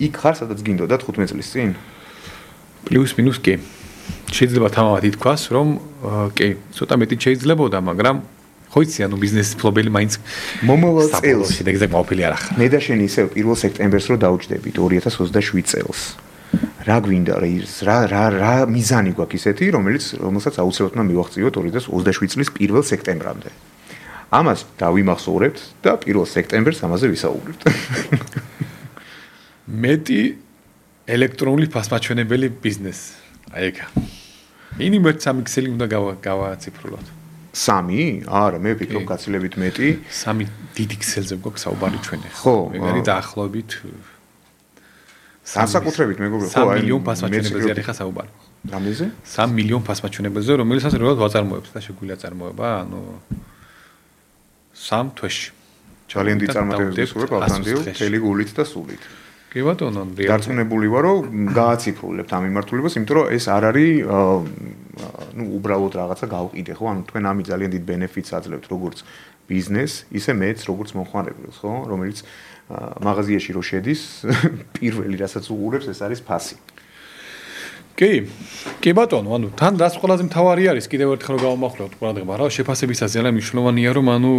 იქ ხარ, სადაც გინდოდა 15 წლის წინ?
პლუს მინუს კი. შეიძლება თამამად ითქვას, რომ კი, ცოტა მეტი შეიძლებოდა, მაგრამ ხო იცი, ანუ ბიზნესის ფლობელი მაინც
მომავალ წელს
შედეგზე კმაყოფილი არ ახლა.
მე და შენ ისევ 1 სექტემბერს რო დავჯდებით 2027 წელს. რა გვინდა რა მიზანი გვაქვს ისეთი, რომელსაც აუცილებლად უნდა მივახციოთ 2027 წლის 1 სექტემბრამდე. ამას დავიმახსოვრებთ და 1 სექტემბერს ამაზე ვისაუბრებთ.
მეტი ელექტრონული ფასმაჩვენებელი ბიზნესი. აი ეგ. მინიმუმ 3 ქსელი უნდა გავაციფრულოთ.
3? არა, მე ვფიქრობ გაცილებით მეტი.
3 დიდი ქსელზე გვაქვს საუბარი ჩვენ ახლა.
ხო,
მე გარი დაახლოებით
განსაკუთრებით მეგობრებო, ხო,
3 მილიონ ფასმაჩვენებელზე არის ხა საუბარი.
რამდენზე?
3 მილიონ ფასმაჩვენებელზე, რომელსაც რეალურად ვაწარმოებთ და შეგვიძლია წარმოება, ანუ 3 თვეში.
ძალიან დიდი წარმატებები ვსურვებ ავთანდილ, მთელი გულით და სულით.
კი ბატონო,
დარწმუნებული ვარ, რომ გააციფრულებთ ამ მიმართულებას, იმიტომ რომ ეს არ არის უბრალოდ რაღაცა გავყიდე, ხო? ანუ თქვენ ამით ძალიან დიდ ბენეფიტს აძლევთ როგორც ბიზნეს, ისე მეც როგორც მომხმარებელს, ხო? რომელიც მაღაზიაში რო შედის, პირველი რასაც უყურებს, ეს არის ფასი.
კი ბატონო, ანუ თან რაც ყველაზე მთავარი არის, კიდევ ერთხელ რომ გავამახვილოთ ყურადღება, რა შეფასებისაც ძალიან მნიშვნელოვანია, რომ ანუ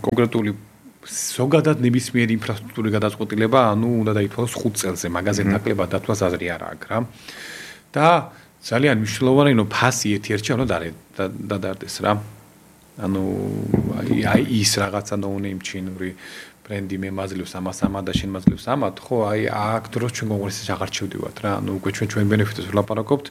კონკრეტული ზოგადად ნებისმიერი ინფრასტრუქტურის გადაწყვეტილება, ანუ უნდა დაითვალოს 5 წელზე, მაგაზე ნაკლებად დათვლას აზრი არ აქვს რა. და ძალიან მნიშვნელოვანია, რომ ფასი ერთ-ერთი უნდა დადარდეს რა. ანუ აი ის რაღაცა ნოუნეიმ ჩინური ბრენდი მე მაძლევს ამას და შენ მაძლევს ამათ, ხო, აი აქ დროს ჩვენ კონკურენციაში აღარ ჩევდივართ რა. ანუ უკვე ჩვენ ბენეფიტებს ვლაპარაკობთ,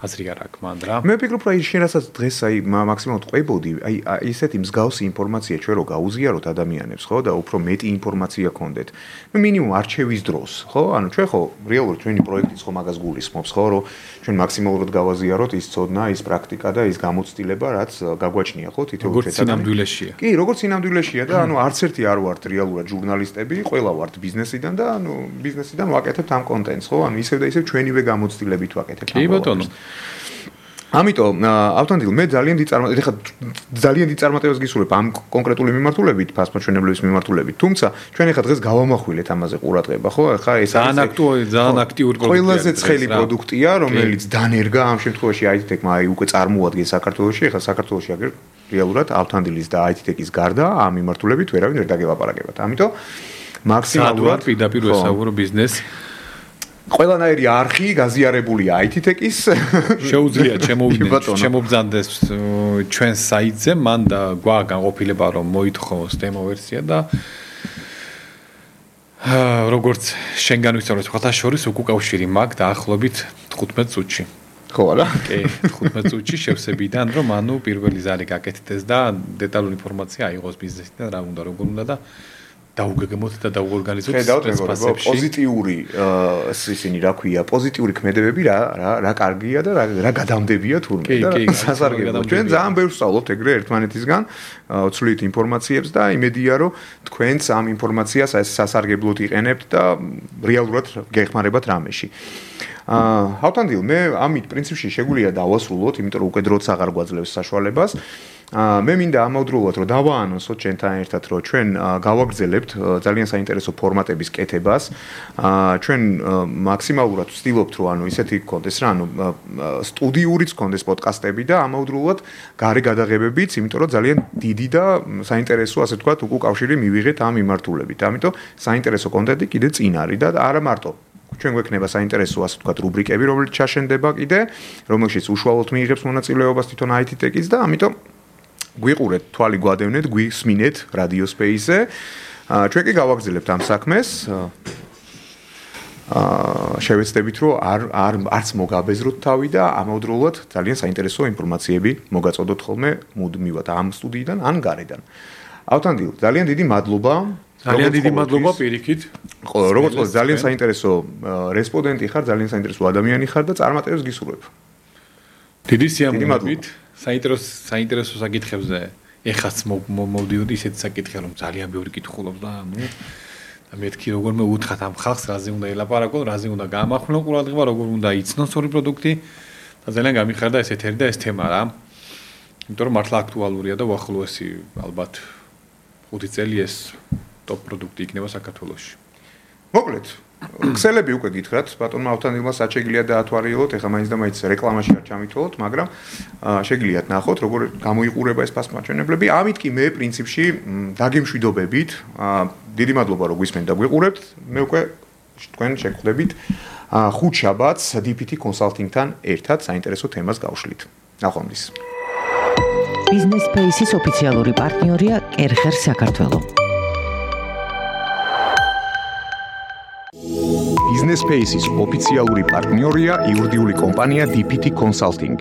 აზრი არ აქვს მან რა.
მე ვფიქრობ, რომ შენ რასაც დღეს აი მაქსიმალურად ყვებოდი, აი ესეთი მსგავსი ინფორმაცია ჩვენ რო გაუზიაროთ ადამიანებს, ხო, და უფრო მეტი ინფორმაცია გქონდეთ. ნუ მინიმუმ არჩევის დროს, ხო? ანუ ჩვენ ხო რეალურად ჩვენი პროექტიც ხო მაგას გულისხმობს, ხო, რომ ჩვენ მაქსიმალურად გავაზიაროთ ის ცოდნა, ის პრაქტიკა და ის გამოცდილება, რაც გაგვაჩნია, ხო, თითოეულ
როგორც სინამდვილეშია.
კი, როგორც სინამდვილეშია და ანუ არც ერთი არ ვართ რეალურად ჟურნალისტები, ყველა ვართ ბიზნესიდან და ანუ ბიზნესიდან ვაკეთებთ ამ კონტენტს, ხო? ანუ ისევ და ისევ ჩვენივე გამოცდილებით ვაკეთებთ.
კი ბატონო.
ამიტომ ავთანდილ მე ძალიან დიდ წარმატებას გისურვებ ამ კონკრეტული მიმართულებით, ფასმოჩვენებლების მიმართულებით. თუმცა ჩვენ ახლა დღეს გავამახვილეთ ამაზე ყურადღება, ხო? ახლა ეს
ძალიან აქტიური პროდუქტია.
ყველაზე ცხელი პროდუქტია, რომელიც დანერგა ამ შემთხვევაში IT-Tech-მა აი უკვე წარმოადგენს საქართველოში, ახლა საქართველოში აგერ რეალურად ავთანდილის და IT-Tech-ის გარდა ამ მიმართულებით ვერავინ ვერ დაგელაპარაკებათ. ამიტომ მაქსიმალურად
პირდაპირ ვესაუბრო ბიზნეს
ყველანაირი არხი გაზიარებულია IT-Tech-ის
შეუძლია შემობძანდეს ჩვენ საიტზე მან და განყოფილება რომ მოითხოვოს დემო ვერსია და როგორც შენ განვისწავლეთ ხოთა შორის უკავშირი მაგ დაახლოებით 15 წუთში
ხო არა?
კი 15 წუთში შევსებიდან რომ ანუ პირველი ზარი გაკეთდეს და დეტალური ინფორმაცია აიღოს ბიზნესიდან რა უნდა როგორ უნდა და დაუგეგმოთ და დაუორგანიზოთ
სპეციფიკებში პოზიტიური ისინი რა ქვია პოზიტიური ქმედებები რა კარგია და რა გადამდებია თურმე და სასარგებლო ჩვენ ძალიან ბევრს ვსწავლობთ ეგრე ერთმანეთისგან ცვლით ინფორმაციებს და იმედია რომ თქვენც ამ ინფორმაციას სასარგებლოდ იყენებთ და რეალურად გეხმარებათ რამეში ავთანდილ მე ამით პრინციპში შეგვიძლია დავასრულოთ იმიტომ რომ უკვე დროც აღარ გვაძლევს საშუალებას მე მინდა ამავდროულად რომ დავაანონსოთ ჩვენთან ერთად რომ ჩვენ გავაგრძელებთ ძალიან საინტერესო ფორმატების კეთებას ჩვენ მაქსიმალურად ვცდილობთ რომ ანუ ისეთი გქონდეს რა ანუ სტუდიურიც გქონდეს პოდკასტები და ამავდროულად გარე გადაღებებიც იმიტომ რომ ძალიან დიდი და საინტერესო ასე ვთქვათ უკავშირი მივიღეთ ამ მიმართულებით ამიტომ საინტერესო კონტენტი კიდე წინ არის და არა მარტო ჩვენ გვექნება საინტერესო ასე ვთქვათ რუბრიკები რომელიც ჩაშენდება კიდე რომელშიც უშუალოდ მიიღებს მონაწილეობას თვითონ IT-Tech-ის და ამიტომ გვიყურეთ, თვალი გვადევნეთ, გვისმინეთ Radio Space-ზე. ჩვენ კი გავაგრძელებთ ამ საქმეს. შევეცდებით, რომ არც მოგაბეზროთ თავი და ამავდროულად ძალიან საინტერესო ინფორმაციები მოგაწოდოთ ხოლმე მუდმივად ამ სტუდიიდან ან გარედან. ავთანდილ, ძალიან დიდი მადლობა.
ძალიან დიდი მადლობა პირიქით.
როგორც ყოველთვის ძალიან საინტერესო რესპონდენტი ხარ, ძალიან საინტერესო ადამიანი ხარ და წარმატებებს გისურვებ.
დიდი სიამოვნებით. საინტერესო საკითხებზე ეხაც მოვდიოდი ისეთ საკითხი რომ ძალიან ბევრი კითხულობს და ნუ მეთქი როგორმე უთხრათ ამ ხალხს რაზე უნდა ელაპარაკონ, რაზე უნდა გაამახვილონ ყურადღება, როგორ უნდა იცნოს ორი პროდუქტი და ძალიან გამიხარდა ეს ეთერი და ეს თემა რა. იმიტომ რომ მართლა აქტუალურია და უახლოესი ალბათ 5 წელი ეს ტოპ პროდუქტი იქნება საქართველოში. მოკლედ ქსელები უკვე გითხრათ, ბატონმა ავთანდილმა საჩეგლია დაათვალიეროთ, ეხლა მაინც და მაინც რეკლამაში არ ჩამითვალოთ, მაგრამ შეგიძლიათ ნახოთ, როგორ გამოიყურება ეს ფასმაჩვენებლები. ამით კი მე პრინციპში დაგემშვიდობებით. დიდი მადლობა რომ გვისმენთ და გვიყურებთ. მე უკვე თქვენ შეგხვდებით ხუთშაბათს DPT Consulting-თან ერთად საინტერესო თემას გავშლით. ნახვამდის.
Business Space-ის ოფიციალური პარტნიორია კერხერ საქართველო.
Business Space-ის ოფიციალური პარტნიორია იურიდიული კომპანია DPT Consulting.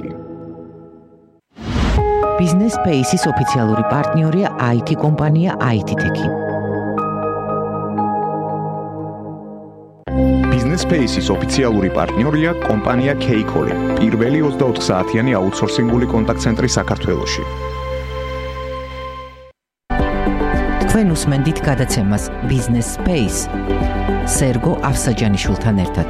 Business Space-ის ოფიციალური პარტნიორია IT კომპანია IT-Tech.
Business Space-ის ოფიციალური პარტნიორია კომპანია K-Call, პირველი 24 საათიანი აუთსორსინგული კონტაქტ-ცენტრი საქართველოში.
თქვენ უსმენთ გადაცემას Business Space სერგო ავსაჯანიშვილთან ერთად.